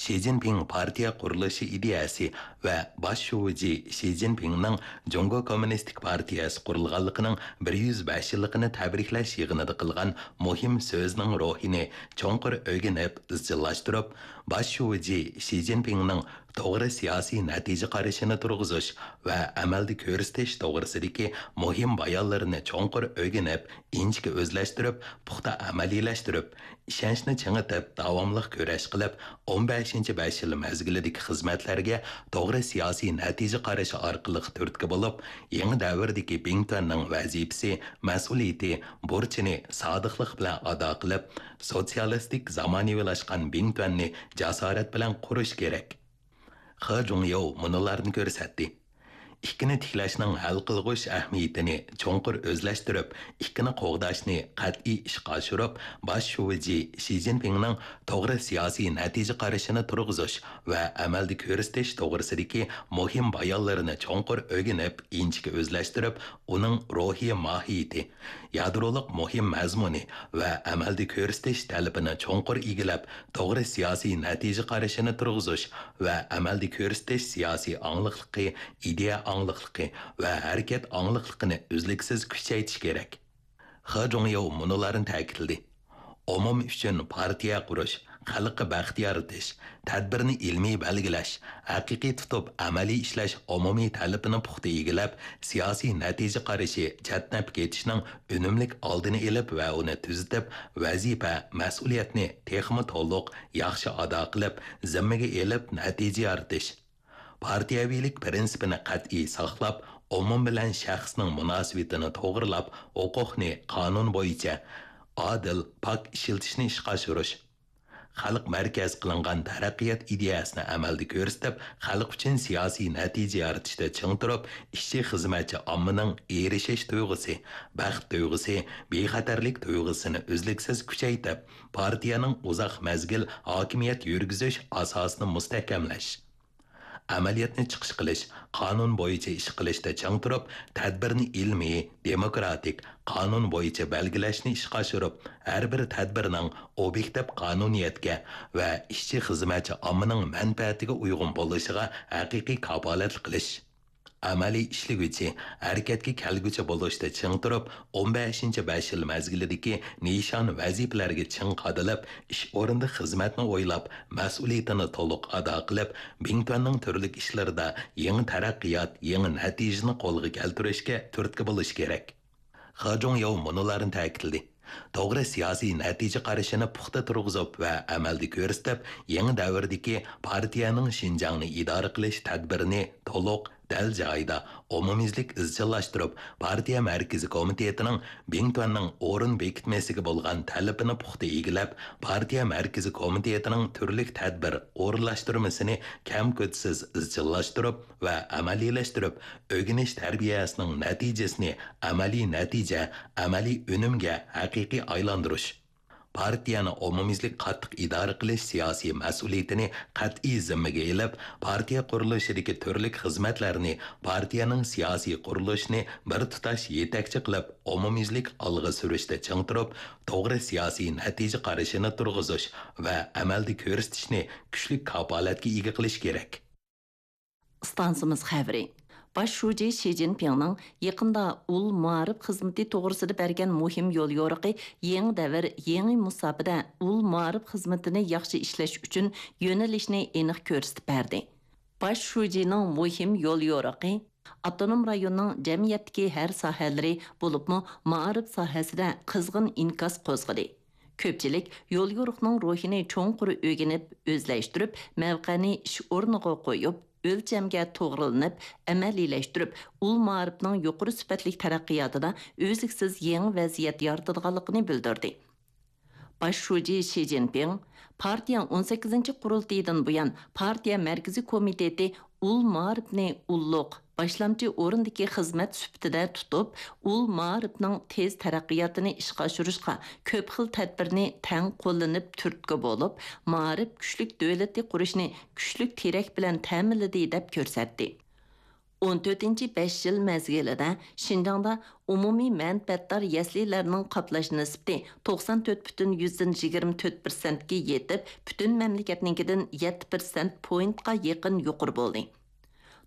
شى جىنپىڭ پارتىيە قۇرۇلۇشى ئىدىيەسى ۋە باش شۇجى شى جىنپىڭنىڭ جۇڭگو كوممۇنىستىك پارتىيەسى قۇرۇلغانلىقىنىڭ بىر يۈز بەش يىللىقىنى تەبرىكلەش يىغىنىدا قىلغان مۇھىم سۆزىنىڭ روھىنى چوڭقۇر ئۆگىنىپ، ئىزچىللاشتۇرۇپ، باش شۇجى شى جىنپىڭنىڭ توغرا سىياسىي نەتىجە قارىشىنى تۇرغۇزۇش ۋە ئەمەلدە كۆرسىتىش توغرىسىدىكى مۇھىم بايانلىرىنى چوڭقۇر ئۆگىنىپ، ئىنچىكە ئۆزلەشتۈرۈپ، پۇختا ئەمەلىيلەشتۈرۈپ، ئىشەنچنى چىڭىتىپ، داۋاملىق كۈرەش قىلىپ، ئون بەشىنچى بەش يىل مەزگىلىدىكى خىزمەتلەرگە توغرا سىياسىي نەتىجە قارىشى ئارقىلىق تۈرتكە بولۇپ، يېڭى دەۋردىكى بىڭتۈەننىڭ ۋەزىپىسى، مەسئۇلىيىتى، بۇرچىنى سادىقلىق بىلەن ئادا قىلىپ، سوتسىيالىستىك زامانىۋىلاشقان بىڭتۈەننى جاسارەت بىلەن قۇرۇش كېرەك. خې جۇڭياۋ مۇنۇلارنى كۆرسەتتى. ئىككىنى تىكلەشنىڭ ھەل قىلغۇچ ئەھمىيىتىنى چوڭقۇر ئۆزلەشتۈرۈپ، ئىككىنى قوغداشنى قەتئىي ئىشقا ئاشۇرۇپ، باش شۇجى شى جىنپىڭنىڭ توغرا سىياسىي نەتىجە قارىشىنى تۇرغۇزۇش ۋە ئەمەلدە كۆرسىتىش توغرىسىدىكى مۇھىم بايانلىرىنى چوڭقۇر ئۆگىنىپ، ئىنچىكە ئۆزلەشتۈرۈپ، ئۇنىڭ روھىي ماھىيىتى، يادرولۇق مۇھىم مەزمۇنى ۋە ئەمەلدە كۆرسىتىش تەلىپىنى چوڭقۇر ئىگىلەپ، توغرا سىياسىي نەتىجە قارىشىنى تۇرغۇزۇش ۋە ئەمەلدە كۆرسىتىش سىياسىي ئاڭلىقلىقى، ئىدىيە ئاڭلىقلىقى ۋە ھەرىكەت ئاڭلىقلىقىنى ئۈزلۈكسىز كۈچەيتىش كېرەك. خې جۇڭياۋ مۇنۇلارنى تەكىتلىدى. ئومۇم ئۈچۈن پارتىيە قۇرۇش، خەلققە بەخت يارىتىش، تەدبىرنى ئىلمىي بەلگىلەش، ھەقىقىي تۇتۇپ ئەمەلىي ئىشلەش ئومۇمىي تەلىپىنى پۇختا ئىگىلەپ، سىياسىي نەتىجە قارىشى چەتنەپ كېتىشنىڭ ئۈنۈملۈك ئالدىنى ئېلىپ ۋە ئۇنى تۈزىتىپ، ۋەزىپە، مەسئۇلىيەتنى تېخىمۇ تولۇق، ياخشى ئادا قىلىپ، زىممىگە ئېلىپ نەتىجە يارىتىش. پارتىيەۋىلىك پىرىنسىپىنى قەتئىي ساقلاپ، ئومۇم بىلەن شەخسنىڭ مۇناسىۋىتىنى توغرىلاپ، ھوقۇقنى قانۇن بويىچە ئادىل، پاك ئىشلىتىشنى ئىشقا ئاشۇرۇش. خەلق مەركەز قىلىنغان تەرەققىيات ئىدىيەسىنى ئەمەلدە كۆرسىتىپ، خەلق ئۈچۈن سىياسىي نەتىجە يارىتىشتا چىڭ تۇرۇپ، ئىشچى، خىزمەتچى ئاممىنىڭ ئېرىشىش تۇيغۇسى، بەخت تۇيغۇسى، بىخەتەرلىك تۇيغۇسىنى ئۈزلۈكسىز كۈچەيتىپ، پارتىيەنىڭ ئۇزاق مەزگىل ھاكىمىيەت يۈرگۈزۈش ئاساسىنى مۇستەھكەملەش. ئەمەلىيەتنى چىقىش قىلىش، قانۇن بويىچە ئىش قىلىشتا چىڭ تۇرۇپ، تەدبىرنى ئىلمىي، دېموكراتىك، قانۇن بويىچە بەلگىلەشنى ئىشقا ئاشۇرۇپ، ھەر بىر تەدبىرنىڭ ئوبيېكتىپ قانۇنىيەتكە ۋە ئىشچى، خىزمەتچى ئاممىنىڭ مەنپەئەتىگە ئۇيغۇن بولۇشىغا ھەقىقىي كاپالەتلىك قىلىش. ئەمەلىي ئىشلىگۈچى، ھەرىكەتكە كەلگۈچى بولۇشتا چىڭ تۇرۇپ، ئون بەشىنچى بەش يىل مەزگىلىدىكى نىشان ۋەزىپىلەرگە چىڭ قادىلىپ، ئىش ئورنىدا خىزمەتنى ئويلاپ، مەسئۇلىيىتىنى تولۇق ئادا قىلىپ، بىڭتۈەننىڭ تۈرلۈك ئىشلىرىدا يېڭى تەرەققىيات، يېڭى نەتىجىنى قولغا كەلتۈرۈشكە تۈرتكە بولۇش كېرەك. خې جۇڭياۋ مۇنۇلارنى تەكىتلىدى. توغرا سىياسىي نەتىجە قارىشىنى پۇختا تۇرغۇزۇپ ۋە ئەمەلدە كۆرسىتىپ، يېڭى دەۋردىكى پارتىيەنىڭ شىنجاڭنى ئىدارە قىلىش تەدبىرىنى تولۇق، دەل جايىدا، ئومۇميۈزلۈك ئىزچىللاشتۇرۇپ، پارتىيە مەركىزىي كومىتېتىنىڭ بىڭتۈەننىڭ ئورۇن بېكىتمىسىگە بولغان تەلىپىنى پۇختا ئىگىلەپ، پارتىيە مەركىزىي كومىتېتىنىڭ تۈرلۈك تەدبىر ئورۇنلاشتۇرمىسىنى كەم-كۆتسىز ئىزچىللاشتۇرۇپ ۋە ئەمەلىيلەشتۈرۈپ، ئۆگىنىش تەربىيەسىنىڭ نەتىجىسىنى ئەمەلىي نەتىجە، ئەمەلىي ئۈنۈمگە ھەقىقىي ئايلاندۇرۇش. پارتىيەنى ئومۇميۈزلۈك قاتتىق ئىدارە قىلىش سىياسىي مەسئۇلىيىتىنى قەتئىي زىممىگە ئېلىپ، پارتىيە قۇرۇلۇشىدىكى تۈرلۈك خىزمەتلەرنى پارتىيەنىڭ سىياسىي قۇرۇلۇشىنى بىر تۇتاش يېتەكچى قىلىپ، ئومۇميۈزلۈك ئالغا سۈرۈشتە چىڭ تۇرۇپ، توغرا سىياسىي نەتىجە قارىشىنى تۇرغۇزۇش ۋە ئەمەلدە كۆرسىتىشنى كۈچلۈك كاپالەتكە ئىگە قىلىش كېرەك. ئىستانسىمىز خەۋىرى. باش شۇجى شى جىنپىڭنىڭ يېقىندا ئۇل مائارىپ خىزمىتى توغرىسىدا بەرگەن مۇھىم يوليورۇقى يېڭى دەۋر، يېڭى مۇساپىدە ئۇل مائارىپ خىزمىتىنى ياخشى ئىشلەش ئۈچۈن يۆنىلىشنى ئېنىق كۆرسىتىپ بەردى. باش شۇجىنىڭ مۇھىم يوليورۇقى ئاپتونوم رايوننىڭ جەمئىيەتتىكى ھەر ساھەلىرى، بولۇپمۇ مائارىپ ساھەسىدە قىزغىن ئىنكاس قوزغىدى. كۆپچىلىك يوليورۇقنىڭ روھىنى چوڭقۇر ئۆگىنىپ، ئۆزلەشتۈرۈپ، مەۋقەنى ئىش ئورنىغا قويۇپ، ئۆلچەمگە توغرىلىنىپ، ئەمەلىيلەشتۈرۈپ، ئۇل مائارىپنىڭ يۇقىرى سۈپەتلىك تەرەققىياتىدا ئۈزلۈكسىز يېڭى ۋەزىيەت يارىتىدىغانلىقىنى بىلدۈردى. باش شۇجى شى جىنپىڭ پارتىيە ئون سەككىزىنچى قۇرۇلتىيىدىن بۇيان، پارتىيە مەركىزىي كومىتېتى ئۇل مائارىپنى ئۇللۇق، باشلامچى ئورۇندىكى خىزمەت سۈپىتىدە تۇتۇپ، ئۇل مائارىپنىڭ تېز تەرەققىياتىنى ئىشقا ئاشۇرۇشقا كۆپ خىل تەدبىرنى تەڭ قوللىنىپ تۈرتكە بولۇپ، مائارىپ كۈچلۈك دۆلىتى قۇرۇشنى كۈچلۈك تىرەك بىلەن تەمىنلىدى، دەپ كۆرسەتتى. ئون تۆتىنچى بەش يىل مەزگىلىدە شىنجاڭدا ئومۇمىي مەنپەئەتدار يەسلىلەرنىڭ قاپلاش نىسبىتى توقسان تۆت پۈتۈن يۈزدىن يىگىرمە تۆت پىرسەنتكە يېتىپ، پۈتۈن مەملىكەتنىڭكىدىن يەتتە پىرسەنت پوينتقا يېقىن يۇقىرى بولدى.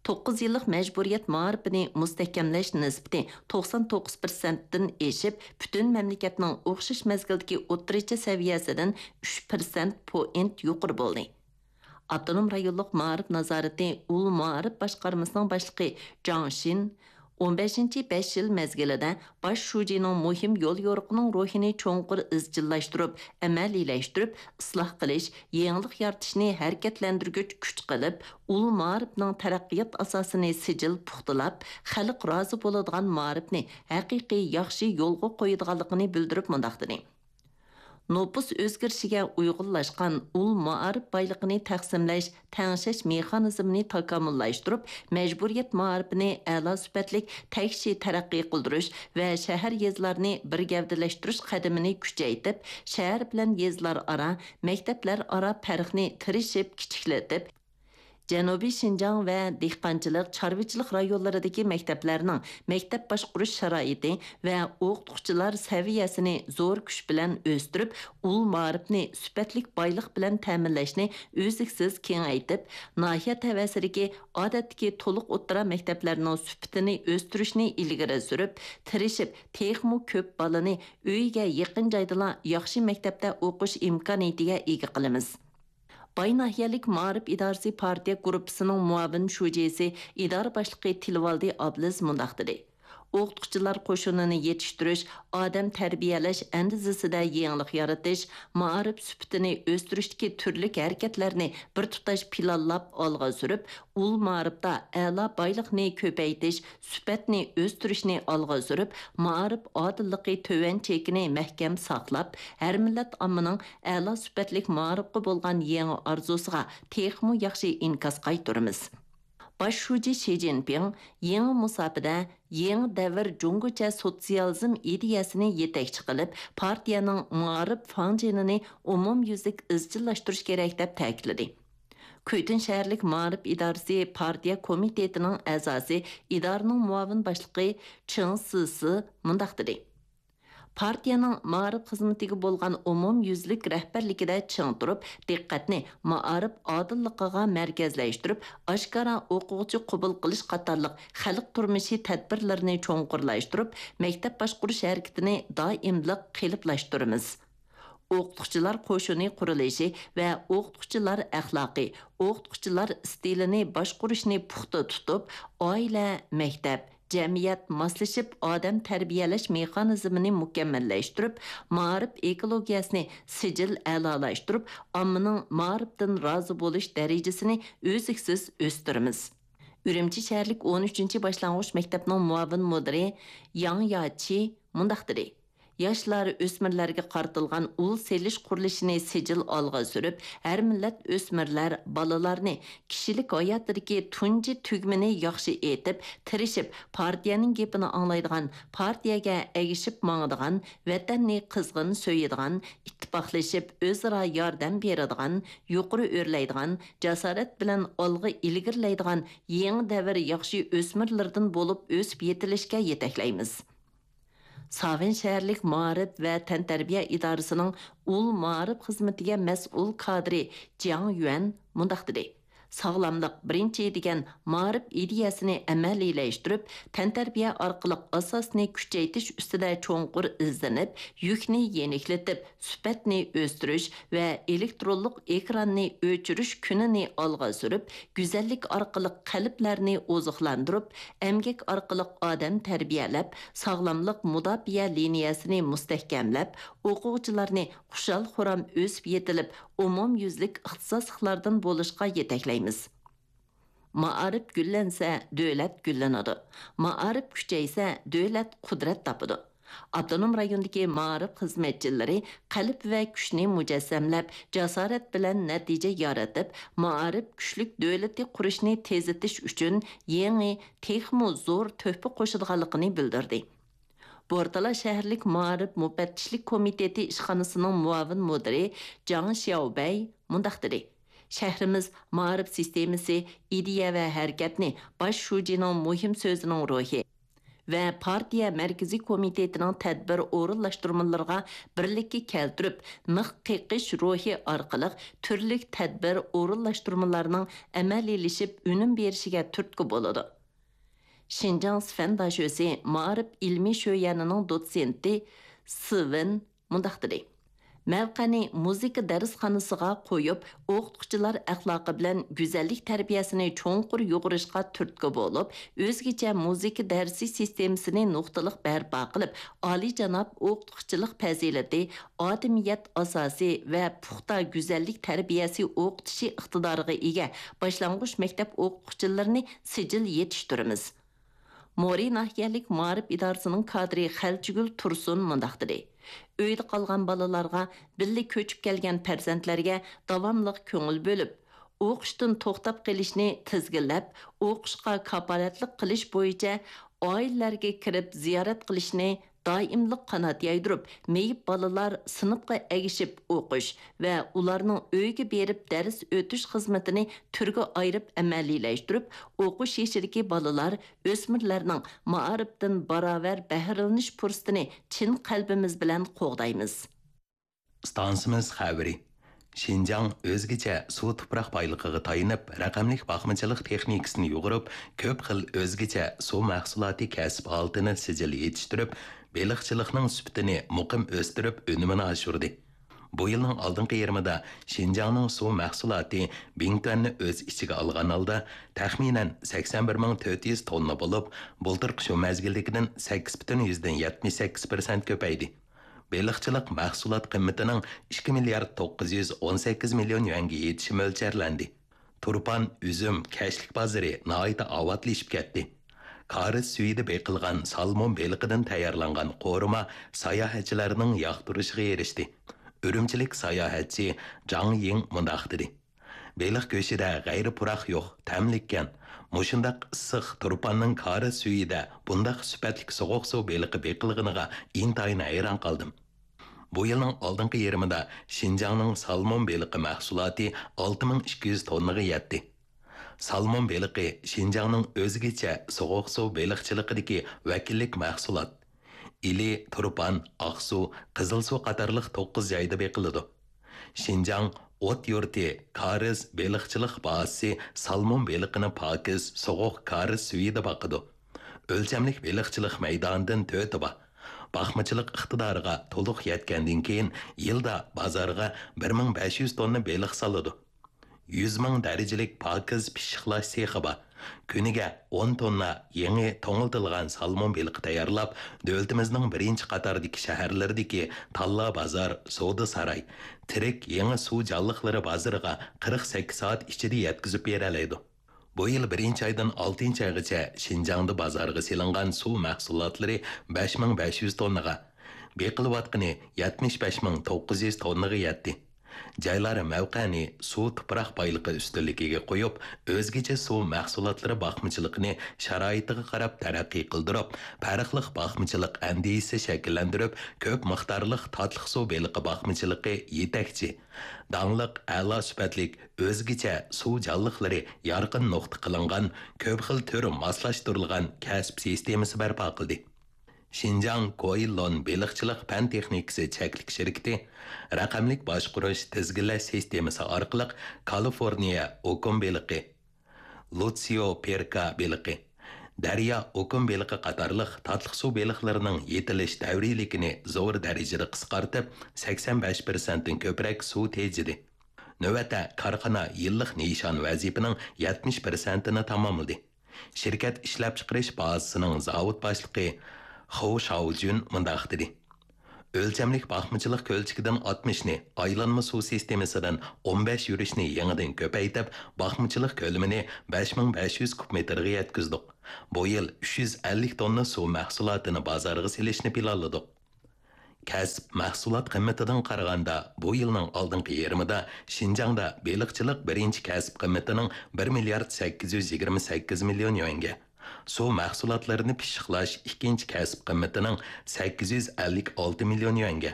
توققۇز يىللىق مەجبۇرىيەت مائارىپىنى مۇستەھكەملەش نىسبىتى توقسان توققۇز پىرسەنتتىن ئېشىپ، پۈتۈن مەملىكەتنىڭ ئوخشاش مەزگىلدىكى ئوتتۇرىچە سەۋىيەسىدىن ئۈچ پىرسەنت پوينت يۇقىرى بولدى. ئاپتونوم رايونلۇق مائارىپ نازارىتى ئۇل مائارىپ باشقارمىسىنىڭ باشلىقى جاڭ شىن ئون بەشىنچى بەش يىل مەزگىلىدە باش شۇجىنىڭ مۇھىم يوليورۇقىنىڭ روھىنى چوڭقۇر ئىزچىللاشتۇرۇپ، ئەمەلىيلەشتۈرۈپ، ئىسلاھ قىلىش، يېڭىلىق يارىتىشنى ھەرىكەتلەندۈرگۈچ كۈچ قىلىپ، ئۇل مائارىپنىڭ تەرەققىيات ئاساسىنى سىجىل پۇختىلاپ، خەلق رازى بولىدىغان مائارىپنى ھەقىقىي ياخشى يولغا قويىدىغانلىقىنى بىلدۈرۈپ مۇنداق دېدى: نوپۇس ئۆزگىرىشىگە ئۇيغۇنلاشقان ئۇل مائارىپ بايلىقىنى تەقسىملەش، تەڭشەش مېخانىزمىنى تاكامۇللاشتۇرۇپ، مەجبۇرىيەت مائارىپىنى ئەلا سۈپەتلىك تەكشى تەرەققىي قىلدۇرۇش ۋە شەھەر، يېزىلارنى بىر گەۋدىلەشتۈرۈش قەدىمىنى كۈچەيتىپ، شەھەر بىلەن يېزىلار ئارا، مەكتەپلەر ئارا پەرقنى تىرىشىپ كىچىكلىتىپ، جەنۇبىي شىنجاڭ ۋە دېھقانچىلىق، چارۋىچىلىق رايونلىرىدىكى مەكتەپلەرنىڭ مەكتەپ باشقۇرۇش شارائىتى ۋە ئوقۇتقۇچىلار سەۋىيەسىنى زور كۈچ بىلەن ئۆستۈرۈپ، ئۇل مائارىپنى سۈپەتلىك بايلىق بىلەن تەمىنلەشنى ئۈزلۈكسىز كېڭەيتىپ، ناھىيە تەۋەسىدىكى ئادەتتىكى تولۇق ئوتتۇرا مەكتەپلەرنىڭ سۈپىتىنى ئۆستۈرۈشنى ئىلگىرى سۈرۈپ، تىرىشىپ، تېخىمۇ كۆپ بالىنى ئۆيىگە يېقىن جايدىلا ياخشى مەكتەپتە ئوقۇش ئىمكانىيىتىگە ئىگە قىلىمىز. باي ناھىيەلىك مائارىپ ئىدارىسى پارتىيە گۇرۇپپىسىنىڭ مۇئاۋىن شۇجىسى، ئىدارە باشلىقى تىلىۋالدى ئابلىز مۇنداق دېدى: ئوقۇتقۇچىلار قوشۇنىنى يېتىشتۈرۈش، ئادەم تەربىيەلەش ئەندىزىسىدە يېڭىلىق يارىتىش، مائارىپ سۈپىتىنى ئۆستۈرۈشتىكى تۈرلۈك ھەرىكەتلەرنى بىر تۇتاش پىلانلاپ ئالغا سۈرۈپ، ئۇل مائارىپتا ئەلا بايلىقنى كۆپەيتىش، سۈپەتنى ئۆستۈرۈشنى ئالغا سۈرۈپ، مائارىپ ئادىللىقى تۆۋەن چېكىنى مەھكەم ساقلاپ، ھەر مىللەت ئاممىنىڭ ئەلا سۈپەتلىك مائارىپقا بولغان يېڭى ئارزۇسىغا تېخىمۇ ياخشى ئىنكاس قايتۇرىمىز. باش شۇجى شى جىنپىڭ يېڭى مۇساپىدە يېڭى دەۋر جۇڭگوچە سوتسىيالىزم ئىدىيەسىنى يېتەكچى قىلىپ، پارتىيەنىڭ مائارىپ فاڭجېنىنى ئومۇميۈزلۈك ئىزچىللاشتۇرۇش كېرەك، دەپ تەكىتلىدى. كۈيتۈن شەھەرلىك مائارىپ ئىدارىسى پارتىيە كومىتېتىنىڭ ئەزاسى، ئىدارىنىڭ مۇئاۋىن باشلىقى چېڭ سىسى مۇنداق دېدى: پارتىيەنىڭ مائارىپ خىزمىتىگە بولغان ئومۇميۈزلۈك رەھبەرلىكىدە چىڭ تۇرۇپ، دىققەتنى مائارىپ ئادىللىقىغا مەركەزلەشتۈرۈپ، ئاشكارا ئوقۇغۇچى قوبۇل قىلىش قاتارلىق خەلق تۇرمۇشى تەدبىرلىرىنى چوڭقۇرلاشتۇرۇپ، مەكتەپ باشقۇرۇش ھەرىكىتىنى دائىملىق قېلىپلاشتۇرىمىز. ئوقۇتقۇچىلار قوشۇنى قۇرۇلۇشى ۋە ئوقۇتقۇچىلار ئەخلاقى، ئوقۇتقۇچىلار ئىستىلىنى باشقۇرۇشنى پۇختا تۇتۇپ، ئائىلە، مەكتەپ، جەمئىيەت ماسلىشىپ ئادەم تەربىيەلەش مېخانىزمىنى مۇكەممەللەشتۈرۈپ، مائارىپ ئېكولوگىيەسىنى سىجىل ئەلالاشتۇرۇپ، ئاممىنىڭ مائارىپتىن رازى بولۇش دەرىجىسىنى ئۈزلۈكسىز ئۆستۈرىمىز. ئۈرۈمچى شەھەرلىك ئون ئۈچىنچى باشلانغۇچ مەكتەپنىڭ مۇئاۋىن مۇدىرى ياڭ ياچى مۇنداق دېدى: ياشلار، ئۆسمۈرلەرگە قارىتىلغان ئۇل سېلىش قۇرۇلۇشىنى سىجىل ئالغا سۈرۈپ، ھەر مىللەت ئۆسمۈرلەر، بالىلارنى كىشىلىك ھاياتىدىكى تۇنجى تۈگمىنى ياخشى ئېيتىپ، تىرىشىپ، پارتىيەنىڭ گېپىنى ئاڭلايدىغان، پارتىيەگە ئەگىشىپ ماڭىدىغان، ۋەتەننى قىزغىن سۆيىدىغان، ئىتتىپاقلىشىپ ئۆزئارا ياردەم بېرىدىغان، يۇقىرى ئۆرلەيدىغان، جاسارەت بىلەن ئالغا ئىلگىرىلەيدىغان يېڭى دەۋر ياخشى ئۆسمۈرلىرىدىن بولۇپ ئۆسۈپ يېتىلىشكە يېتەكلەيمىز. ساۋەن شەھەرلىك مائارىپ ۋە تەنتەربىيە ئىدارىسىنىڭ ئۇل مائارىپ خىزمىتىگە مەسئۇل كادىرى جياڭ يۈەن مۇنداق دېدى: ساغلاملىق بىرىنچى دېگەن مائارىپ ئىدىيەسىنى ئەمەلىيلەشتۈرۈپ، تەنتەربىيە ئارقىلىق ئاساسنى كۈچەيتىش ئۈستىدە چوڭقۇر ئىزدىنىپ، يۈكنى يېنىكلىتىپ، سۈپەتنى ئۆستۈرۈش ۋە ئېلېكترونلۇق ئېكراننى ئۆچۈرۈش كۈنىنى ئالغا سۈرۈپ، گۈزەللىك ئارقىلىق قەلبلەرنى ئوزۇقلاندۇرۇپ، ئەمگەك ئارقىلىق ئادەم تەربىيەلەپ، ساغلاملىق مۇداپىئە لىنىيەسىنى مۇستەھكەملەپ، ئوقۇغۇچىلارنى خۇشال-خۇرام ئۆسۈپ يېتىلىپ، ئومۇميۈزلۈك ئىختىساسلىقلاردىن بولۇشقا يېتەكلەيمىز. مائارىپ گۈللەنسە، دۆلەت گۈللىنىدۇ. مائارىپ كۈچەيسە، دۆلەت قۇدرەت تاپىدۇ. ئاپتونوم رايوندىكى مائارىپ خىزمەتچىلىرى قەلب ۋە كۈچنى مۇجەسسەملەپ، جاسارەت بىلەن نەتىجە يارىتىپ، مائارىپ كۈچلۈك دۆلىتى قۇرۇشنى تېزلىتىش ئۈچۈن يېڭى، تېخىمۇ زور تۆھپە قوشىدىغانلىقىنى بىلدۈردى. بورتالا شەھەرلىك مائارىپ مۇپەتتىشلىك كومىتېتى ئىشخانىسىنىڭ مۇئاۋىن مۇدىرى جاڭ شياۋبەي مۇنداق دېدى: شەھىرىمىز مائارىپ سىستېمىسى، ئىدىيە ۋە ھەرىكەتنى باش شۇجىنىڭ مۇھىم سۆزىنىڭ روھى ۋە پارتىيە مەركىزىي كومىتېتىنىڭ تەدبىر ئورۇنلاشتۇرمىلىرىغا بىرلىككە كەلتۈرۈپ، مىخ قېقىش روھى ئارقىلىق تۈرلۈك تەدبىر ئورۇنلاشتۇرمىلارنىڭ ئەمەلىيلىشىپ ئۈنۈم بېرىشىگە تۈرتكە بولىدۇ. شىنجاڭ سىفەن داشۆسى مائارىپ ئىلمىي شۆيەنىنىڭ دوتسېنتى سىۋېن مۇنداق دېدى: مەۋقەنى مۇزىكا دەرسخانىسىغا قويۇپ، ئوقۇتقۇچىلار ئەخلاقى بىلەن گۈزەللىك تەربىيەسىنى چوڭقۇر يۇغۇرۇشقا تۈرتكە بولۇپ، ئۆزگىچە مۇزىكا دەرسى سىستېمىسىنى نۇقتىلىق بەرپا قىلىپ، ئالىيجاناب ئوقۇتقۇچىلىق پەزىلىتى، ئادىمىيەت ئاساسى ۋە پۇختا گۈزەللىك تەربىيەسى ئوقۇتۇشى ئىقتىدارىغا ئىگە باشلانغۇچ مەكتەپ ئوقۇتقۇچىلىرىنى سىجىل يېتىشتۈرىمىز. مورى ناھىيەلىك مائارىپ ئىدارىسىنىڭ كادىرى خەلچىگۈل تۇرسۇن مۇنداق دېدى: ئۆيدە قالغان بالىلارغا، بىللە كۆچۈپ كەلگەن پەرزەنتلەرگە داۋاملىق كۆڭۈل بۆلۈپ، ئوقۇشتىن توختاپ قېلىشنى تىزگىنلەپ، ئوقۇشقا كاپالەتلىك قىلىش بويىچە ئائىلىلەرگە كىرىپ زىيارەت قىلىشنى دائىملىق قانات يايدۇرۇپ، مېيىپ بالىلار سىنىپقا ئەگىشىپ ئوقۇش ۋە ئۇلارنىڭ ئۆيىگە بېرىپ دەرس ئۆتۈش خىزمىتىنى تۈرگە ئايرىپ ئەمەلىيلەشتۈرۈپ، ئوقۇش يېشىدىكى بالىلار، ئۆسمۈرلەرنىڭ مائارىپتىن باراۋەر بەھرىلىنىش پۇرسىتىنى چىن قەلبىمىز بىلەن قوغدايمىز. ئىستانسىمىز خەۋىرى. شىنجاڭ ئۆزگىچە سۇ تۇپراق بايلىقىغا تايىنىپ، رەقەملىك باقمىچىلىق تېخنىكىسىنى يۇغۇرۇپ، كۆپ خىل ئۆزگىچە سۇ مەھسۇلاتى كەسىپ ھالىتىنى سىجىل يېتىشتۈرۈپ، بېلىقچىلىقنىڭ سۈپىتىنى مۇقىم ئۆستۈرۈپ، ئۈنۈمىنى ئاشۇردى. بۇ يىلنىڭ ئالدىنقى يېرىمىدا شىنجاڭنىڭ سۇ مەھسۇلاتى بىڭتۈەننى ئۆز ئىچىگە ئالغان ھالدا، تەخمىنەن سەكسەن بىر مىڭ تۆت يۈز توننا بولۇپ، بۇلتۇرقى شۇ مەزگىلدىكىدىن سەككىز پۈتۈن يۈزدىن يەتمىش سەككىز پىرسەنت كۆپەيدى. بېلىقچىلىق مەھسۇلات قىممىتىنىڭ ئىككى مىليارد توققۇز يۈز ئون سەككىز مىليون يۈەنگە يېتىشى مۆلچەرلەندى. تۇرپان، ئۈزۈم، كەشلىك بازىرى ناھايىتى ئاۋاتلىشىپ كەتتى. كارىز سۈيىدە بېقىلغان سالمون بېلىقىدىن تەييارلانغان قورۇما ساياھەتچىلەرنىڭ ياقتۇرۇشىغا ئېرىشتى. ئۈرۈمچىلىك ساياھەتچى جاڭ يىڭ مۇنداق دېدى: بېلىق گۆشىدە غەيرىي پۇراق يوق، تەملىككەن. مۇشۇنداق ئىسسىق تۇرپاننىڭ كارىز سۈيىدە بۇنداق سۈپەتلىك سوغۇق سۇ بېلىقى بېقىلغىنىغا ئىنتايىن ھەيران قالدىم. بۇ يىلنىڭ ئالدىنقى يېرىمىدا شىنجاڭنىڭ سالمون بېلىقى مەھسۇلاتى ئالتە مىڭ ئىككى يۈز توننىغا يەتتى. سالمون بېلىقى شىنجاڭنىڭ ئۆزگىچە سوغۇق سۇ بېلىقچىلىقىدىكى ۋەكىللىك مەھسۇلات. ئىلى، تۇرپان، ئاقسۇ، قىزىلسۇ قاتارلىق توققۇز جايدا بېقىلىدۇ. شىنجاڭ ئوت يۇرتى كارىز بېلىقچىلىق بازىسى سالمون بېلىقىنى پاكىز، سوغۇق كارىز سۈيىدە باقىدۇ. ئۆلچەملىك بېلىقچىلىق مەيدانىدىن تۆتى بار. باقمىچىلىق ئىقتىدارىغا تولۇق يەتكەندىن كېيىن، يىلدا بازارغا بىر مىڭ بەش يۈز توننا بېلىق سالىدۇ. يۈز مىڭ دەرىجىلىك پاكىز پىششىقلاش سېخى بار. كۈنىگە ئون توننا يېڭى توڭلىتىلغان سالمون بېلىقى تەييارلاپ، دۆلىتىمىزنىڭ بىرىنچى قاتاردىكى شەھەرلىرىدىكى تاللا بازار، سودا ساراي، تىرىك يېڭى سۇ جانلىقلىرى بازىرىغا قىرىق سەككىز سائەت ئىچىدە يەتكۈزۈپ بېرەلەيدۇ. بۇ يىل بىرىنچى ئايدىن ئالتىنچى ئايغىچە شىنجاڭدا بازارغا سېلىنغان سۇ مەھسۇلاتلىرى بەش مىڭ بەش يۈز توننىغا، بېقىلىۋاتقىنى يەتمىش بەش مىڭ توققۇز يۈز توننىغا يەتتى. جايلار مەۋقەنى سۇ تۇپراق بايلىقى ئۈستۈنلۈكىگە قويۇپ، ئۆزگىچە سۇ مەھسۇلاتلىرى باقمىچىلىقىنى شارائىتىغا قاراپ تەرەققىي قىلدۇرۇپ، پەرقلىق باقمىچىلىق ئەندىزىسى شەكىللەندۈرۈپ، كۆپ مىقدارلىق تاتلىق سۇ بېلىقى باقمىچىلىقى يېتەكچى، داڭلىق ئەلا سۈپەتلىك ئۆزگىچە سۇ جانلىقلىرى يارقىن نۇقتا قىلىنغان، كۆپ خىل تۈر ماسلاشتۇرۇلغان كەسىپ سىستېمىسى بەرپا قىلدى. شىنجاڭ گويلون بېلىقچىلىق پەن تېخنىكىسى چەكلىك شىركىتى رەقەملىك باشقۇرۇش تىزگىنلەش سىستېمىسى ئارقىلىق كالىفورنىيە ئوكۇن بېلىقى، لۇتسيو پېركا بېلىقى، دەريا ئوكۇن بېلىقى قاتارلىق تاتلىق سۇ بېلىقلىرىنىڭ يېتىلىش دەۋرىيلىكىنى زور دەرىجىدە قىسقارتىپ، سەكسەن بەش پىرسەنتتىن كۆپرەك سۇ تېجىدى. نۆۋەتتە كارخانا يىللىق نىشان ۋەزىپىنىڭ يەتمىش پىرسەنتىنى تاماملىدى. شىركەت ئىشلەپچىقىرىش بازىسىنىڭ زاۋۇت باشلىقى خو شاۋجۈن مۇنداق دېدى: ئۆلچەملىك باقمىچىلىق كۆلچىكىدىن ئاتمىشنى، ئايلانما سۇ سىستېمىسىدىن ئون بەش يۈرۈشنى يېڭىدىن كۆپەيتىپ، باقمىچىلىق كۆلىمىنى بەش مىڭ بەش يۈز كۇب مېتىرغا يەتكۈزدۇق. بۇ يىل ئۈچ يۈز ئەللىك توننا سۇ مەھسۇلاتىنى بازارغا سېلىشنى پىلانلىدۇق. كەسىپ مەھسۇلات قىممىتىدىن قارىغاندا، بۇ يىلنىڭ ئالدىنقى يېرىمىدا شىنجاڭدا بېلىقچىلىق بىرىنچى كەسىپ قىممىتىنىڭ بىر مىليارد سەككىز يۈز يىگىرمە سەككىز مىليون يۈەنگە، سۇ مەھسۇلاتلىرىنى پىششىقلاش ئىككىنچى كەسىپ قىممىتىنىڭ سەككىز يۈز ئەللىك ئالتە مىليون يۈەنگە،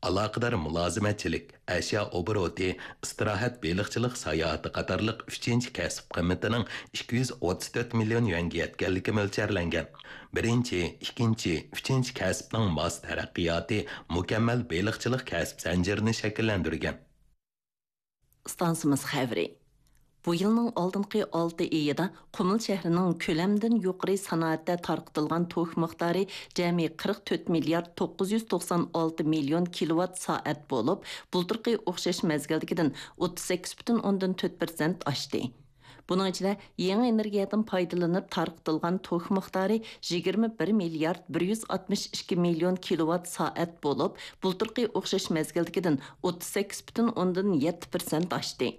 ئالاقىدار مۇلازىمەتچىلىك، ئەشيا ئوبوروتى، ئىستىراھەت، بېلىقچىلىق ساياھىتى قاتارلىق ئۈچىنچى كەسىپ قىممىتىنىڭ ئىككى يۈز ئوتتۇز تۆت مىليون يۈەنگە يەتكەنلىكى مۆلچەرلەنگەن. بىرىنچى، ئىككىنچى، ئۈچىنچى كەسىپنىڭ ماس تەرەققىياتى مۇكەممەل بېلىقچىلىق كەسىپ زەنجىرىنى شەكىللەندۈرگەن. ئىستانسىمىز خەۋىرى. بۇ يىلنىڭ ئالدىنقى ئالتە ئېيىدا قۇمۇل شەھىرىنىڭ كۆلەمدىن يۇقىرى سانائەتتە تارقىتىلغان توك مىقدارى جەمئىي قىرىق تۆت مىليارد توققۇز يۈز توقسان ئالتە مىليون كىلوۋات سائەت بولۇپ، بۇلتۇرقى ئوخشاش مەزگىلدىكىدىن ئوتتۇز سەككىز پۈتۈن ئوندىن تۆت پىرسەنت ئاشتى. بۇنىڭ ئىچىدە يېڭى ئېنېرگىيەدىن پايدىلىنىپ تارقىتىلغان توك مىقدارى يىگىرمە بىر مىليارد بىر يۈز ئاتمىش ئىككى مىليون كىلوۋات سائەت بولۇپ، بۇلتۇرقى ئوخشاش مەزگىلدىكىدىن ئوتتۇز سەككىز پۈتۈن ئوندىن يەتتە پىرسەنت ئاشتى.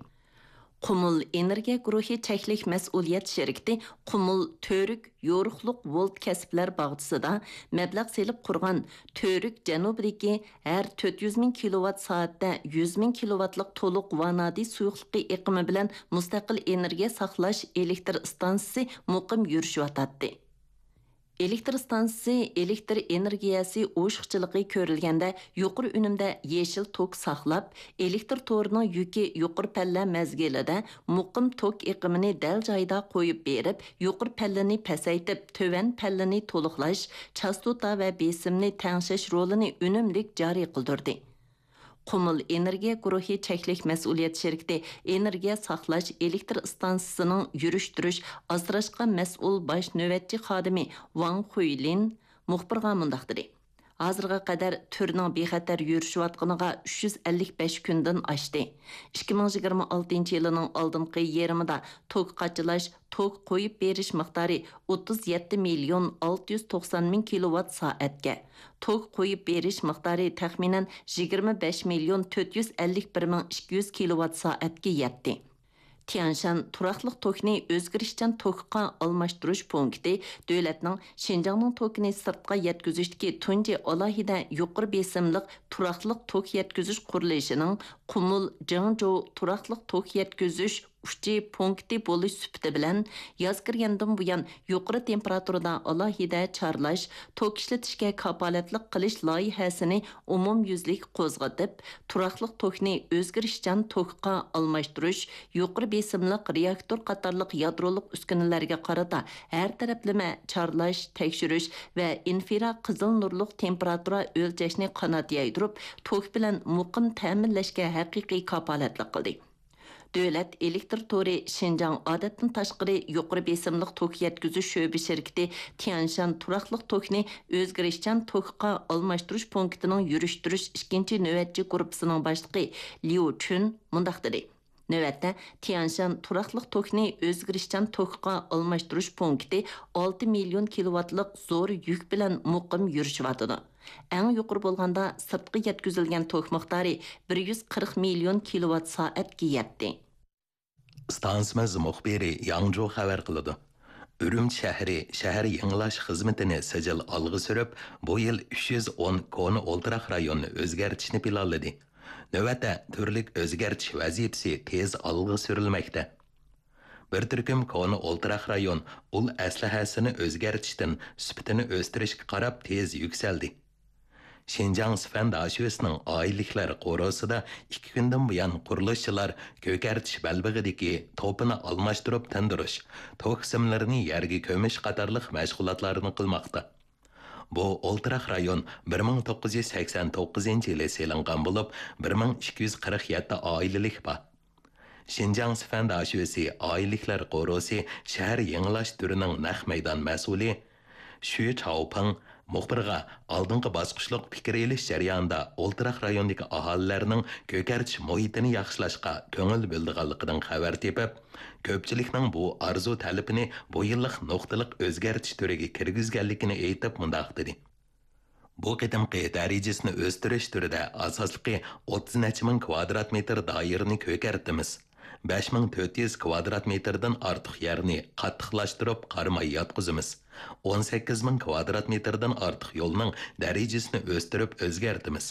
قۇمۇل ئېنېرگىيە گۇرۇھى چەكلىك مەسئۇلىيەت شىركىتى قۇمۇل تۈرك يورۇقلۇق ۋولت كەسىپلەر باغچىسىدا مەبلەغ سېلىپ قۇرغان تۈرك جەنۇبىدىكى ھەر تۆت يۈز مىڭ كىلوۋات سائەتتە يۈز مىڭ كىلوۋاتلىق تولۇق ۋانادى سۇيۇقلۇقى ئېقىمى بىلەن مۇستەقىل ئېنېرگىيە ساقلاش ئېلېكتر ئىستانسىسى مۇقىم يۈرۈشۈۋاتاتتى. ئېلېكتر ئىستانسىسى ئېلېكتر ئېنېرگىيەسى ئوشۇقچىلىقى كۆرۈلگەندە يۇقىرى ئۈنۈمدە يېشىل توك ساقلاپ، ئېلېكتر تورىنىڭ يۈكى يۇقىرى پەللە مەزگىلىدە مۇقىم توك ئېقىمىنى دەل جايىدا قويۇپ بېرىپ، يۇقىرى پەللىنى پەسەيتىپ، تۆۋەن پەللىنى تولۇقلاش، چاستوتا ۋە بېسىمنى تەڭشەش رولىنى ئۈنۈملۈك جارى قىلدۇردى. قۇمۇل ئېنېرگىيە گۇرۇھى چەكلىك مەسئۇلىيەت شىركىتى ئېنېرگىيە ساقلاش ئېلېكتر ئىستانسىسىنىڭ يۈرۈشتۈرۈش ئاسراشقا مەسئۇل باش نۆۋەتچى خادىمى ۋاڭ خۇيلىن مۇخبىرغا مۇنداق دېدى: ھازىرغا قەدەر تۈرنىڭ بىخەتەر يۈرۈشۈۋاتقىنىغا ئۈچ يۈز ئەللىك بەش كۈندىن ئاشتى. ئىككى مىڭ يىگىرمە ئالتىنچى يىلىنىڭ ئالدىنقى يېرىمىدا توك قاچىلاش، توك قويۇپ بېرىش مىقدارى ئوتتۇز يەتتە مىليون ئالتە يۈز توقسان مىڭ كىلوۋات سائەتكە، توك قويۇپ بېرىش مىقدارى تەخمىنەن يىگىرمە بەش مىليون تۆت يۈز ئەللىك بىر مىڭ ئىككى يۈز كىلوۋات سائەتكە يەتتى. تيەنشان تۇراقلىق توكنى ئۆزگىرىشچان توكقا ئالماشتۇرۇش پونكىتى دۆلەتنىڭ شىنجاڭنىڭ توكىنى سىرتقا يەتكۈزۈشتىكى تۇنجى ئالاھىدە يۇقىرى بېسىملىق تۇراقلىق توك يەتكۈزۈش قۇرۇلۇشىنىڭ قۇمۇل جىڭجۇ تۇراقلىق توك يەتكۈزۈش ئۇچى پونكىتى بولۇش سۈپىتى بىلەن، ياز كىرگەندىن بۇيان يۇقىرى تېمپېراتۇرىدا ئالاھىدە چارلاش، توك ئىشلىتىشكە كاپالەتلىك قىلىش لايىھەسىنى ئومۇميۈزلۈك قوزغىتىپ، تۇراقلىق توكنى ئۆزگىرىشچان توكقا ئالماشتۇرۇش، يۇقىرى بېسىملىق رېئاكتور قاتارلىق يادرولۇق ئۈسكۈنىلەرگە قارىتا ھەر تەرەپلىمە چارلاش، تەكشۈرۈش ۋە ئىنفرا قىزىل نۇرلۇق تېمپېراتۇرا ئۆلچەشنى قانات يايدۇرۇپ، توك بىلەن مۇقىم تەمىنلەشكە ھەقىقىي كاپالەتلىك قىلدى. دۆلەت ئېلېكتر تورى شىنجاڭ ئادەتتىن تاشقىرى يۇقىرى بېسىملىق توك يەتكۈزۈش شۆبە شىركىتى تيەنشان تۇراقلىق توكنى ئۆزگىرىشچان توكقا ئالماشتۇرۇش پونكىتىنىڭ يۈرۈشتۈرۈش ئىككىنچى نۆۋەتچى گۇرۇپپىسىنىڭ باشلىقى ليۇ چۈن مۇنداق دېدى: نۆۋەتتە تيەنشان تۇراقلىق توكنى ئۆزگىرىشچان توكقا ئالماشتۇرۇش پونكىتى ئالتە مىليون كىلوۋاتلىق زور يۈك بىلەن مۇقىم يۈرۈشۈۋاتىدۇ. ئەڭ يۇقىرى بولغاندا سىرتقا يەتكۈزۈلگەن توك مىقدارى بىر يۈز قىرىق مىليون كىلوۋات سائەتكە يەتتى. ئىستانسىمىز مۇخبىرى ياڭجۇ خەۋەر قىلىدۇ. ئۈرۈمچى شەھىرى شەھەر يېڭىلاش خىزمىتىنى سىجىل ئالغا سۈرۈپ، بۇ يىل ئۈچ يۈز ئون كونا ئولتۇراق رايوننى ئۆزگەرتىشنى پىلانلىدى. نۆۋەتتە تۈرلۈك ئۆزگەرتىش ۋەزىپىسى تېز ئالغا سۈرۈلمەكتە. بىر تۈركۈم كونا ئولتۇراق رايون ئۇل ئەسلىھەسىنى ئۆزگەرتىشتىن سۈپىتىنى ئۆستۈرۈشكە قاراپ تېز يۈكسەلدى. شىنجاڭ سىفەن داشۆسىنىڭ ئائىلىلىكلەر قورۇسىدا ئىككى كۈندىن بۇيان قۇرۇلۇشچىلار كۆكەرتىش بەلبېغىدىكى توپىنى ئالماشتۇرۇپ تىندۇرۇش، توك سىملىرىنى يەرگە كۆمۈش قاتارلىق مەشغۇلاتلارنى قىلماقتا. بۇ ئولتۇراق رايون بىر مىڭ توققۇز يۈز سەكسەن توققۇزىنچى يىلى سېلىنغان بولۇپ، بىر مىڭ ئىككى يۈز قىرىق يەتتە ئائىلىلىك بار. شىنجاڭ سىفەن داشۆسى ئائىلىلىكلەر قورۇسى شەھەر يېڭىلاش تۈرىنىڭ نەق مەيدان مەسئۇلى شۈ چاۋپىڭ مۇخبىرغا ئالدىنقى باسقۇچلۇق پىكىر ئېلىش جەريانىدا ئولتۇراق رايوندىكى ئاھالىلەرنىڭ كۆكەرتىش مۇھىتىنى ياخشىلاشقا كۆڭۈل بۆلىدىغانلىقىدىن خەۋەر تېپىپ، كۆپچىلىكنىڭ بۇ ئارزۇ تەلىپىنى بۇ يىللىق نۇقتىلىق ئۆزگەرتىش تۈرىگە كىرگۈزگەنلىكىنى ئېيتىپ مۇنداق دېدى. بۇ قېتىمقى دەرىجىسىنى ئۆستۈرۈش تۈرىدە ئاساسلىقى ئوتتۇز نەچچە مىڭ كۋادرات مېتىر دائىرىنى كۆكەرتىمىز. بەش مىڭ تۆت يۈز كۋادرات مېتىردىن ئارتۇق يەرنى قاتتىقلاشتۇرۇپ قارىماي ياتقۇزىمىز. ئون سەككىز مىڭ كۋادرات مېتىردىن ئارتۇق يولنىڭ دەرىجىسىنى ئۆستۈرۈپ ئۆزگەرتىمىز.